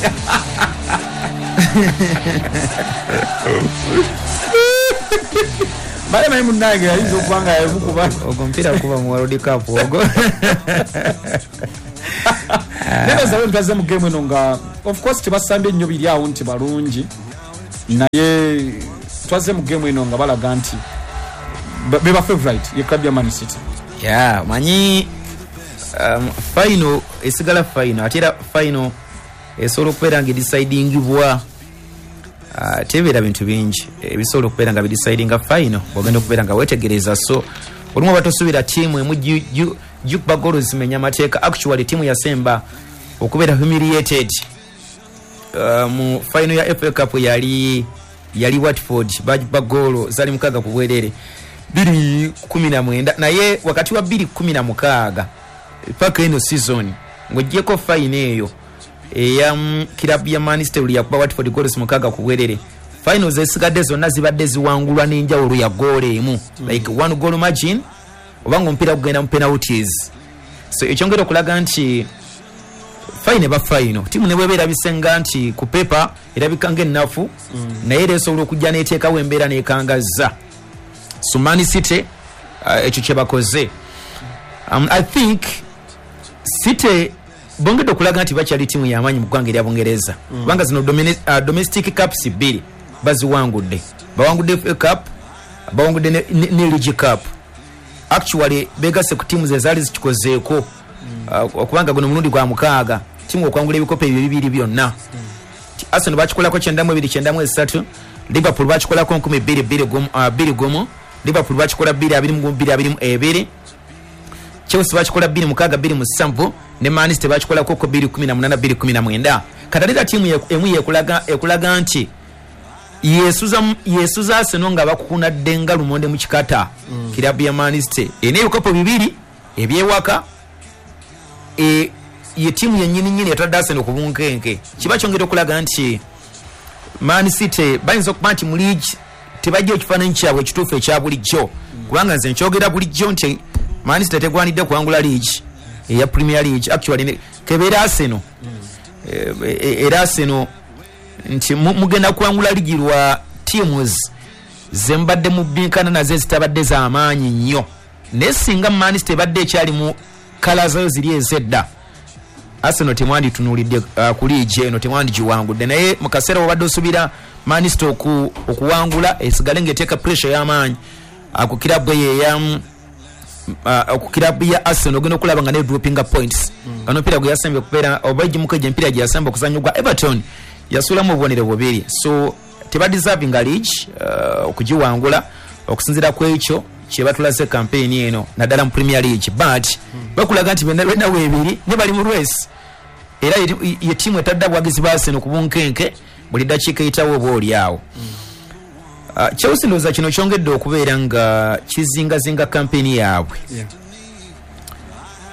S1: Bale mayi munnange ayinza okuba nga yamukuba
S2: ogwo omupiira kuba mu World Cup ogwo.
S1: Naye zawe ntazze mu game eno nga of course tebasambye nnyo biri awo nti balungi, Naye twaze mu game eno nga balaga nti beba favorite ye club ya Man City.
S2: Yeah, manyi um, final esigala final, ate era final esobola okubeera nga edecidingibwa, uh, tebeera bintu bingi ebisobola okubeera nga bidecidinga final bwogenda okubeera nga wetegereza. So olumu oba tosuubira ttiimu emu gikuba goals zimenya amateeka. Actually ttiimu yasemba okubeera humiliated uh, mu final ya F A Cup yali yali Watford, bagikuba goolo zali mukaaga ku bwerere bbiri kumi na mwenda, naye wakati wa bbiri kumi na mukaaga paka eno season ng'oggyeko final eyo eya club ya Man City yakuba Watford goals mukaaga ku bwerere, finals ezisigadde zonna zibadde ziwangulwa n'enjawulo ya goolo emu, mm. like one goal margin oba ng'omupiira gugenda mu penalties. So ekyongera okulaga nti final eba final, ttiimu ne bw'eba erabise nga nti ku paper erabika ng'ennafu, mm. naye era esobola okujja n'eteekawo embeera n'ekangazza. So Man City ekyo uh, kye bakoze. um, I think City bongedde okulaga nti bakyali ttiimu y'amaanyi mu ggwanga erya Bungereza, kubanga mm. zino uh, domestic cups bbiri baziwangudde, bawangudde F A Cup, bawangudde ne, ne, ne League Cup. Actually begasse ku ttiimu ezaali zikikozeeko, mm. uh, kubanga guno mulundi gwa mukaaga ttiimu okwangula ebikopo ebyo bibiri byonna. mm. Arsenal bakikolako kyenda mu ebiri kyenda mu esatu, Liverpool bakikolako nkumi bbiri bbiri gumu, uh, bbiri gumu, Liverpool bakikola bbiri abiri mu gumu bbiri abiri mu ebiri, Chelsea bakikola bbiri mukaaga bbiri musanvu, ne Man City bakikolako ko bbiri kumi na munaana bbiri kumi na mwenda. Kati ate ttiimu emu yekulaga ekulaga nti yesuza yesuza Arsenal nga bakukunadde nga lumonde mu kikata. mm. Kirabu ya Man City ene ebikopo bibiri ebyewaka, e ye ttiimu yennyini nnyini yatadde Arsenal ku bunkenke. Kiba kyongera okulaga nti Man City bayinza okuba nti mu league tebajja ekifaananyi kyabwe ekituufu ekya bulijjo, kubanga nze nkyogera bulijjo nti Man City tegwanidde kuwangula league eya Premier League. Actually kebeera Arsenal, era Arsenal nti mugenda kuwangula ligi lwa teams zembadde mubinkana nazo ezitabadde z'amaanyi nnyo, naye singa Man City ebadde ekyali mu kala zayo ziri ez'edda, Arsenal temwanditunuulidde uh, ku liigi eno, temwandigiwangudde. Naye mu kaseera wobadde osuubira Man City oku, okuwangula esigale ng'eteeka pressure y'amaanyi ku kirabu eyo eya uh, ku kirabu ya Arsenal, ogenda okulaba nga ne droppinga points. mm. Ono omupiira gwe yasembye okubeera oba egimuko egyo emipiira gye yasemba okuzannya gwa Everton yasuulamu obubonero bubiri, so tebadeservinga league uh, okugiwangula okusinziira ku ekyo kye batulaze campaign eno naddala mu Premier League. But mm. bakulaga nti benna benna weebiri ne bali mu race, era ye ttiimu etadde abawagizi ba Arsenal ku bunkenke buli ddakiika eyitawo oba oli awo. mm. Uh, Chelsea ndowooza kino kyongedde okubeera nga kizingazinga campaign yaabwe,
S1: yeah.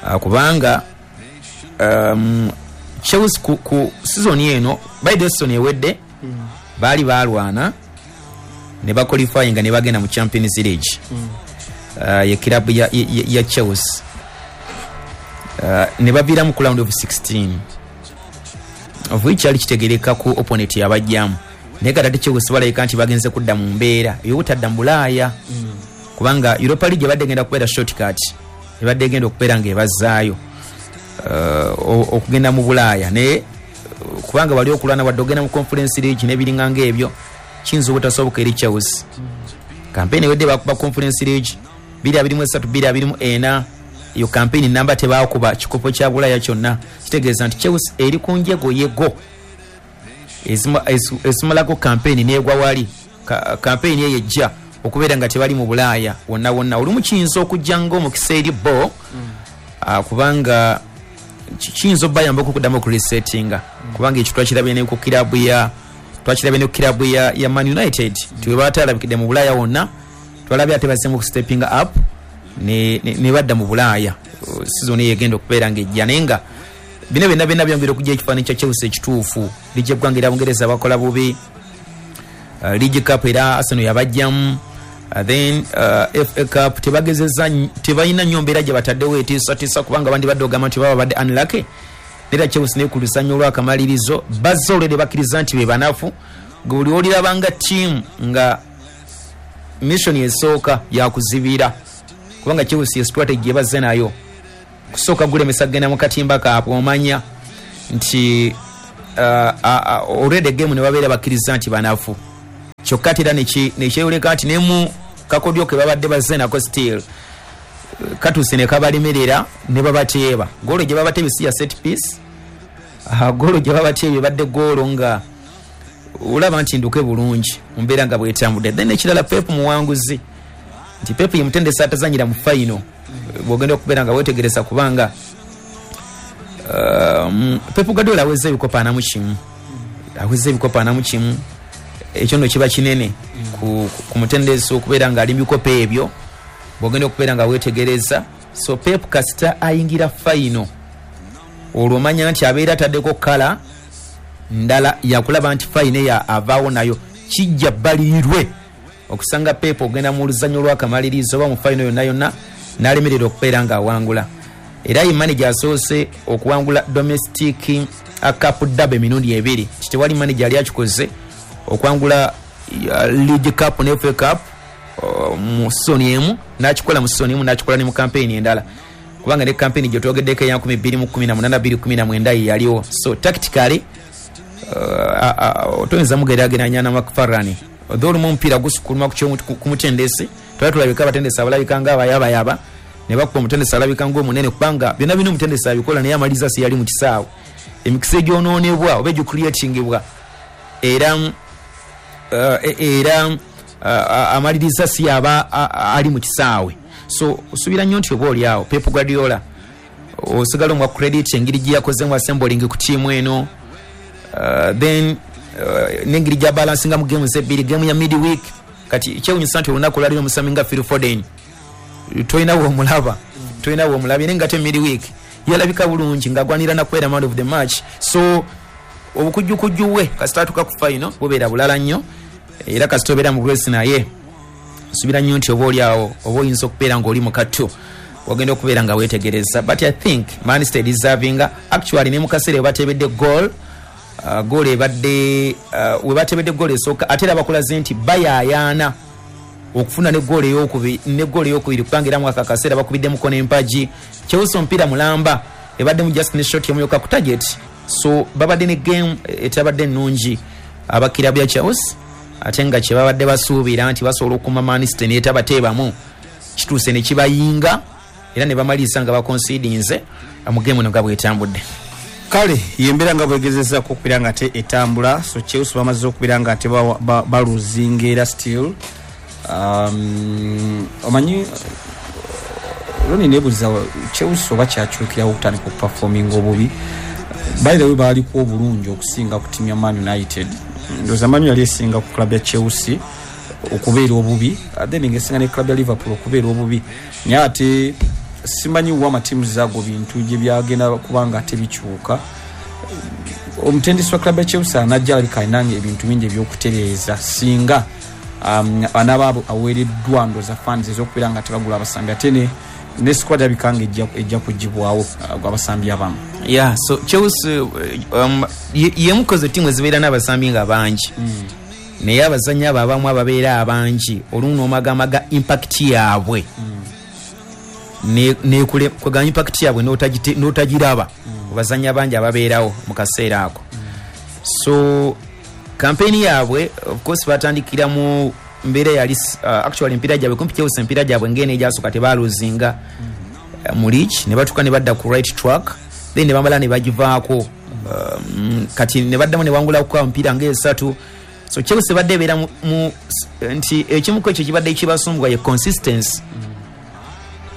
S2: uh, kubanga um, Chelsea ku, ku season eno, by the season ewedde,
S1: mm.
S2: baali balwana ne baqualifyinga ne bagenda mu Champions League.
S1: mm.
S2: uh, ye club ya, ya, ya Chelsea uh, ne baviiramu ku round of sixteen, of which kyali kitegereka ku opponent yabajjamu, naye kati ate Chelsea balabika nti bagenze kudda mu mbeera ey'obutadda mu Bulaaya,
S1: mm.
S2: kubanga Europa League ebadde egenda kubeera shortcut, ebadde egenda okubeera ng'ebazzaayo uh, okugenda mu Bulaaya, naye uh, kubanga bali okulwana wadde ogenda mu Conference League n'ebiringa ng'ebyo kiyinza obutasoboka eri Chelsea.
S1: mm.
S2: Campaign ewedde bakuba Conference League bbiri abiri mu esatu bbiri abiri mu ena, eyo campaign namba tebakuba kikopo kya Bulaaya kyonna. Kitegeeza nti Chelsea eri ku njegoyego ezimalako campaign n'egwa wali. Ka, campaign eyo ejja okubeera nga tebali mu Bulaaya wonna wonna. Olumu kiyinza okujja ng'omukisa eri bo,
S1: mm.
S2: uh, kubanga kiyinza obbayambako okuddamu okuresettinga,
S1: mm.
S2: kubanga ekyo twakirabye ne ku kirabu ya twakirabye ne ku kirabu ya, ya Man United,
S1: mm.
S2: nti bwe bataalabikidde mu Bulaaya wonna, twalabye ate bazzeemu okusteppinga up ne, ne, ne badda mu Bulaaya season eyo egenda okubeera ng'ejja. Naye nga bino byonna byonna byongera okujja ekifaananyi kya Chelsea ekituufu. Liigi y'eggwanga erya Bungereza bakola bubi, uh, League Cup era Arsenal yabajjamu, uh, then uh, F A Cup tebagezezza, tebalina nnyo mbeera gye bataddewo etiisatiisa, kubanga abandi badde ogamba nti baba badde unlucky. Era Chelsea ne ku lusannyo olw'akamalirizo bazze olwedde bakkiriza nti be banafu. Gwe buli olirabanga ttiimu nga mission esooka yakuzibira, kubanga Chelsea strategy ebazze nayo kusooka gulemesa kugenda mu katimba kaabwe, omanya nti uh, uh, already game ne babeera bakkiriza nti banafu. Kyokka ate era nekyeyoleka nti nemu kakodyo ke babadde bazze nako still katuuse ne kabalemerera ne babateeba. Goolo gye babateebye si ya set piece, goolo gye babateebye badde goolo nga olaba nti nduke bulungi mu mbeera nga bwetambudde. Then ekirala, Pep muwanguzi, nti Pep ye mutendesi atazanyira mu final, bw'ogenda okubeera nga weetegereza, kubanga um, Pep Guardiola aweza ebikopo ana mu kimu, aweza ebikopo ana mu kimu. Ekyo nno kiba kinene ku, ku mutendesi okubeera ng'ali mu bikopo ebyo, bw'ogenda okubeera nga weetegereza. So Pep kasita ayingira final, olwo omanya nti abeera ataddeko kala ndala yakulaba nti final ya avaawo nayo kijja bbaliirwe okusanga Pep ogenda mu luzannya olw'akamalirizo oba mu final yonna yonna n'alemererwa okubeera ng'awangula. Era ye manager asoose okuwangula domestic cup dab emirundi ebiri. Tewali manager yali akikoze okuwangula League Cup ne F A Cup mu season emu, n'akikola mu season emu, n'akikola ne mu campaign endala, kubanga ne campaign gye twogeddeko eya nkumi bbiri mu kkumi na munaana bbiri kkumi na mwenda ye yaliwo. So tactically toyinza mugeraageranya na McFarlane, although olumu omupiira gusukuluma ku mutendesi. Twali tulabika abatendesi abalabika nga abayabayaba ne bakuba omutendesi alabika ng'omunene, kubanga byonna bino omutendesi abikola naye amaliriza si yali mu kisaawe. Emikisa egyonoonebwa oba egicreatingibwa era era amaliriza si yaba ali mu kisaawe. So osuubira nnyo nti oba oli awo Pep Guardiola osigala omwa credit engeri gye yakozemu assembling ku ttiimu eno, then n'engeri gya balansinga mu games ebbiri, game ya midweek. Kati kyewunyisa nti olunaku olwaliro omusambi nga Phil Foden tolina w'omulaba, tolina w'omulabye, naye nga te midweek yalabika bulungi ng'agwanira nakubeera man of the match. So obukujjukujju we kasita atuuka ku final bubeera bulala nnyo, era kasita obeera mu grace naye nsuubira nnyo nti oba oli awo oba oyinza okubeera ng'oli mu kattu wagenda okubeera nga weetegereza. But I think Man City deserving actually. Ne mu kaseera we bateebedde goal, uh, goal ebadde uh, we bateebedde goal esooka, ate era bakulaze nti bayaayaana okufuna ne goal eyokubiri, ne goal eyokubiri, kubanga era mwaka akaseera bakubiddemuko n'empagi. Chelsea omupiira mulamba ebadde mu just ne shot emuyoka ku target. So babadde ne game etabadde ennungi abakira bya Chelsea, ate nga kye babadde basuubira nti basobola okuma Man City n'etabateebamu kituuse ne kibayinga, era ne bamaliriza nga baconcedinze mu game eno nga bwetambudde.
S3: Kale yembeera nga bwegezezaako okubeera nga ate etambula. So Chelsea bamaze okubeera nga ate baluzinga era still um, omanyi Roni, nebuuza Chelsea oba kyakyukirawo okutandika okuperforminga obubi. By the way, baaliko obulungi okusinga ku tiimu ya Man United. Ndowooza Man yali esinga ku club ya Chelsea okubeera obubi, then ngaesinga ne club ya Liverpool okubeera obubi, naye ate simanyi wa amatiimu zaago bintu gye byagenda kubanga ate bikyuka. Omutendesi wa club ya Chelsea anajja alabika alinanga ebintu bingi ebyokutereeza singa um, anaaba aweereddwa ndowooza funds ez'okubeera nga tebagula abasambi, ate ne ne squad alabika nga ejja kugibwawo uh, abasambi abamu.
S2: Yeah, so Chelsea um, yemukoze ttiimu ezibeera n'abasambi nga bangi mm. naye abazannyi abo abamu ababeera abangi olumu n'omagamaga impact yaabwe mm. nekule kwega impact yaabwe n'otagiraba mm. abazannyi abangi ababeerawo mu kaseera ako mm. So campaign yaabwe of course batandikira mu mbeera yali uh, actually empiira gyabwe kumpi Chelsea empiira gyabwe ng'eno egyasooka tebaluzinga mm. mu league, ne batuuka ne badda ku right track, then ne bamala ne bagivaako um, kati ne baddamu ne wangulako emipiira ng'esatu. So Chelsea badde ebeera mu nti ekimu ku ekyo kibadde kibasumbwa ye consistency mm.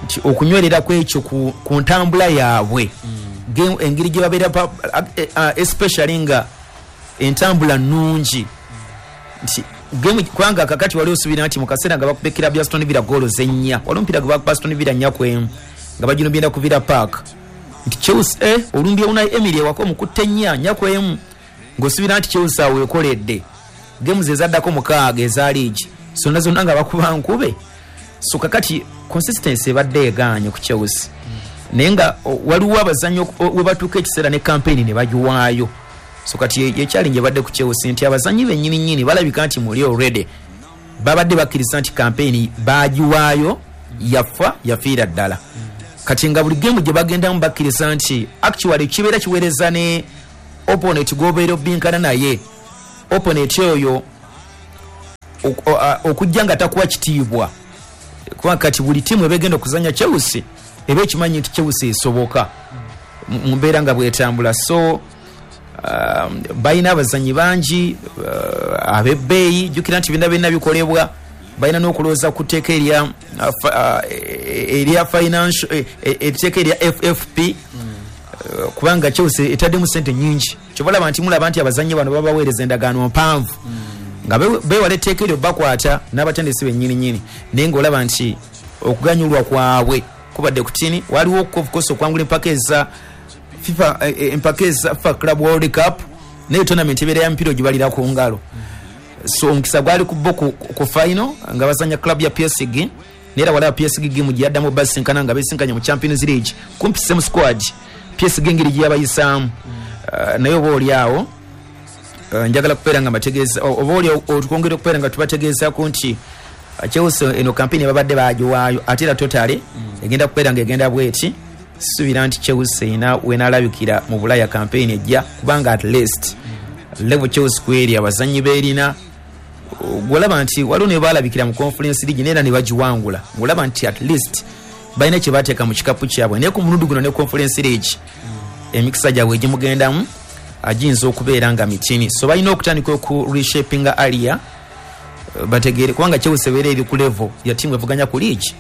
S2: nti okunywerera ku ekyo ku, ku ntambula yaabwe mm. game engeri gye babeera, especially nga entambula nnungi nti game, kubanga kakati wali osuubira nti mu kaseera nga bakubekera bya Aston Villa goolo zennya, wali omupiira gwe bakuba Aston Villa nnya ku emu nga baginubyenda ku Villa Park, nti Chelsea eh, olumbye Unai Emery ewaka omukutte nnya nnya ku emu, ng'osuubira nti Chelsea awo ekoledde. Games ezaddako mukaaga eza league zonna zonna nga bakuba nkube. So kakati consistency ebadde egaanye ku Chelsea, naye nga waliwo abazannyi we batuuka ekiseera ne campaign ne bagiwaayo. So kati ye challenge ebadde ku Chelsea nti abazannyi bennyini nnyini balabika nti muli already babadde bakkiriza nti campaign bagiwaayo, yafa yafiira ddala. Kati nga buli game gye bagendamu bakkiriza nti actually kibeera kiweereza ne opponent gw'obeera obinkana naye, opponent oyo Okujja nga takuwa kitiibwa, kuba kati buli tiimu ebegenda okuzanya Chelsea eba ekimanyi nti Chelsea esoboka mu mbeera nga bwetambula. So um, balina abazanyi bangi uh, ab'ebbeeyi. Jjukira nti byonna byonna bikolebwa, balina n'okulowooza ku tteeka erya uh, uh, erya financial, etteeka erya F F P, uh, kubanga Chelsea etaddemu sente nyingi. Kyobalaba nti mulaba nti abazanyi bano babaweereza endagaano mpanvu nga bewala etteeka eryo bakwata n'abatendesi bennyini nnyini, naye ng'olaba nti okuganyulwa kwabwe kubadde kutini. Waliwo of course okwangula empaka eza FIFA, empaka eza FIFA Club World Cup, naye tournament ebeera ya mipiira ogibalira ku ngalo. So omukisa gwali ku bo ku, ku final nga bazanya club ya P S G, naye walaba P S G game gye yaddamu basinkana nga besinkanye mu Champions League, kumpi same squad, P S G engeri gye yabayisaamu. uh, naye oba oli awo uh, njagala kubeera nga mbategeeza, oba oli otwongera okubeera nga tubategeezaako nti Chelsea eno campaign babadde bagiwaayo, ate era totally egenda kubeera nga egenda bweti. Suubira nti Chelsea ena wenaalabikira mu Bulaya campaign ejja, kubanga at least level Chelsea kweri abazanyi beerina, gwolaba nti waliwo ne baalabikira mu Conference League neera ne bagiwangula, ng'olaba nti at least balina kye bateeka mu kikapu kyabwe. Naye ku mulundi guno ne Conference League emikisa gyabwe egimugendamu agiyinza okubeera nga mitini, so balina okutandika oku reshapinga area bategeere, kubanga Chelsea ebeera eri ku level ya tiimu evuganya ku league,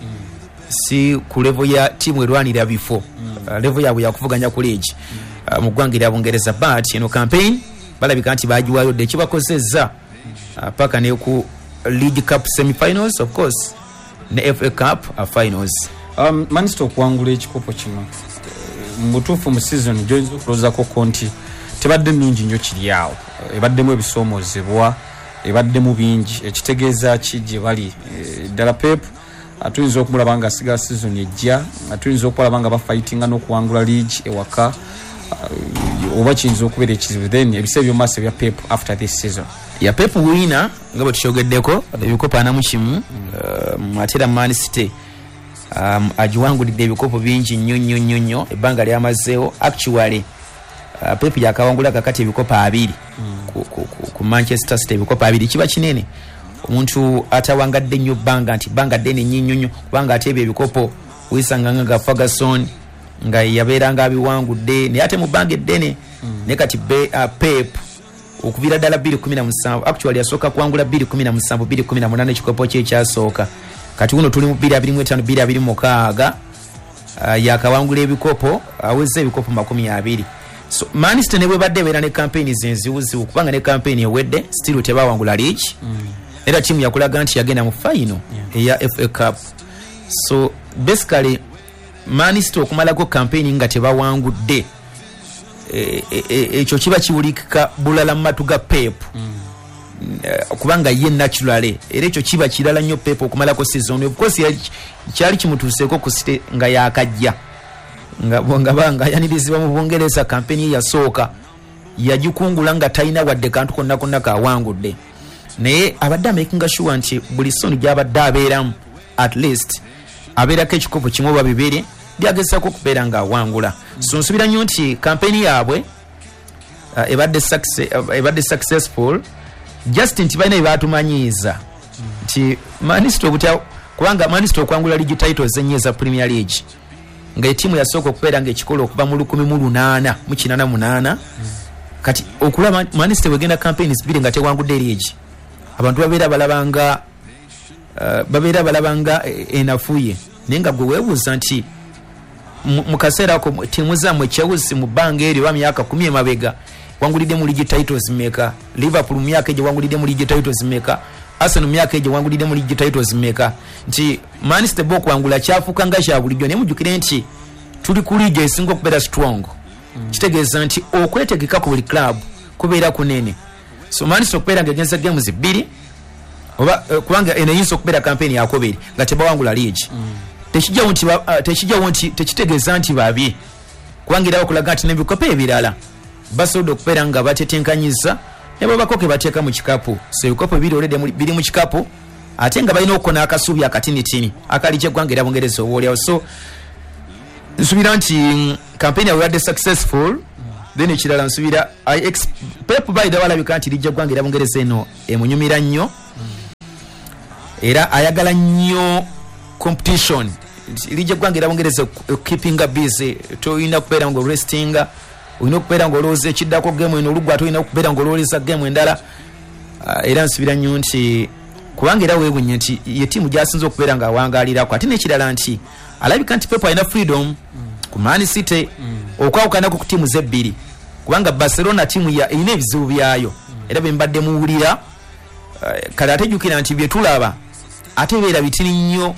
S2: si ku level ya tiimu erwanira bifo. uh, level yaabwe yakuvuganya ku league uh, mu ggwanga erya Bungereza. But eno campaign balabika nti bagiwaayo dde, ekibakozezza uh, paka ne ku League Cup semifinals, of course ne F A Cup uh, finals.
S3: um, Man City okuwangula ekikopo kino, mu butuufu mu season gyoyinza okulowoozako nti tebadde nnungi nnyo, kiri awo ebaddemu ebisoomoozebwa, ebaddemu bingi, ekitegeeza ki gye bali ddala? Pep tuyinza okumulaba nga asigala season ejja, tuyinza okubalaba nga bafightinga n'okuwangula league ewaka, oba kiyinza okubeera ekizibu then ebiseera byomumaaso ebya Pep after this season?
S2: Ya, Pep wina nga bwe tukyogeddeko, ebikopo ana mu kimu, um, ate era Man City um, agiwangulidde ebikopo bingi nnyo nnyo nnyo nnyo ebbanga lyamazeewo. Actually uh, Pep yakawangula kakati ebikopo abiri mm. ku, ku, ku, ku Manchester City. Ebikopo abiri kiba kinene omuntu atawangadde nnyo bbanga nti bbanga ddene nnyo nnyo nnyo, kubanga ate ebyo ebikopo wisanga nga Ferguson nga yabeeranga abiwangudde, naye ate mu bbanga eddene mm. Naye kati be, uh, Pep okuviira ddala bbiri kumi na musanvu, actually yasooka kuwangula bbiri kumi na musanvu, bbiri kumi na munaana ekikopo kye ekyasooka. Kati guno tuli mu bbiri abiri mu ttaano, bbiri abiri mu mukaaga, uh, yakawangula ebikopo, aweza ebikopo makumi abiri. So Man City ne bwebadde ebeera ne campaign zenzibuzibu, kubanga ne campaign ewedde still tebawangula league mm. era tiimu yakulaga nti yagenda mu final eya F A Cup. So basically Man City okumalako campaign nga tebawangudde, ekyo kiba kiwulikika bulala mu matu ga Pep mm. kubanga ye naturally era ekyo kiba kirala nnyo Pep okumalako season. Of course kyali kimutuuseeko ku City nga yakajja nga nga nga yanirizibwa mu Bungereza, campaign ye yasooka yagikungula nga talina wadde kantu konna konna kawangudde, naye abadde amakinga sure nti buli season gyabadde abeeramu at least abeerako ekikopo kimu oba bibiri byagezako okubeera ng'awangula. So nsuubira nnyo nti campaign yaabwe uh, ebadde success, ebadde successful, just nti balina byebatumanyiiza nti Man City obutya, kubanga Man City okwangula league titles ennyo eza Premier League nga etiimu yasooka okubeera nga ekikola okuva mu lukumi mu lunaana mu kinaana munaana. Kati okulaba Man City wegenda campaigns bbiri nga tewangudde league, abantu babeera balabanga uh, babeera balabanga enafuye, naye nga gwe weebuuza nti mu kaseera ako tiimu zammwe Chelsea mu bbanga eryo oba myaka kumi emabega wangulidde mu league titles meka? Liverpool mu myaka egyo wangulidde mu league titles meka? Arsenal mu myaka egyo wangulidde mu league titles meka? Nti Man City bo okuwangula kyafuuka nga kya bulijjo, naye mujjukire nti tuli ku league esinga okubeera strong mm. Kitegeeza nti okwetegeka ku buli club kubeera kunene. So Man City okubeera nga egenza games bbiri oba uh, kubanga eno eyinza okubeera campaign yakubiri nga tebawangula league mm. tekijjawo nti uh, tekijjawo nti tekitegeeza nti babi, kubanga era bakulaga nti n'ebikopo ebirala basobodde okubeera nga batetenkanyiza ne babako ke bateeka mu kikapu. So ebikopo bibiri already biri mu kikapu, ate nga balina okukona akasuubi akatinitini akali kyeggwanga era Bungereza obaoliawo. So nsuubira nti campaign yaabwe ebadde successful. Then ekirala nsuubira Pep by the way alabika nti lijja ggwanga era Bungereza eno emunyumira nnyo. Era ayagala nnyo competition. Liigi eggwanga era Bungereza keepinga busy. Tolina kubeera nga orestinga, olina okubeera nga olowooza ekiddako. Gemu eno olugwa, tolina okubeera nga olowooza gemu endala. Ah, era nsubira nnyo nti, kubanga era weewunye nti ye tiimu gyasinza okubeera nga awangalirako. Ate n'ekirala nti alabika nti Pep alina freedom ku Man City, okwawukanako ku tiimu zebbiri, kubanga Barcelona tiimu ya- erina ebizibu byayo era bye mbadde muwulira. Eh, kale ate jjukira nti bye tulaba ate beera bitini nnyo.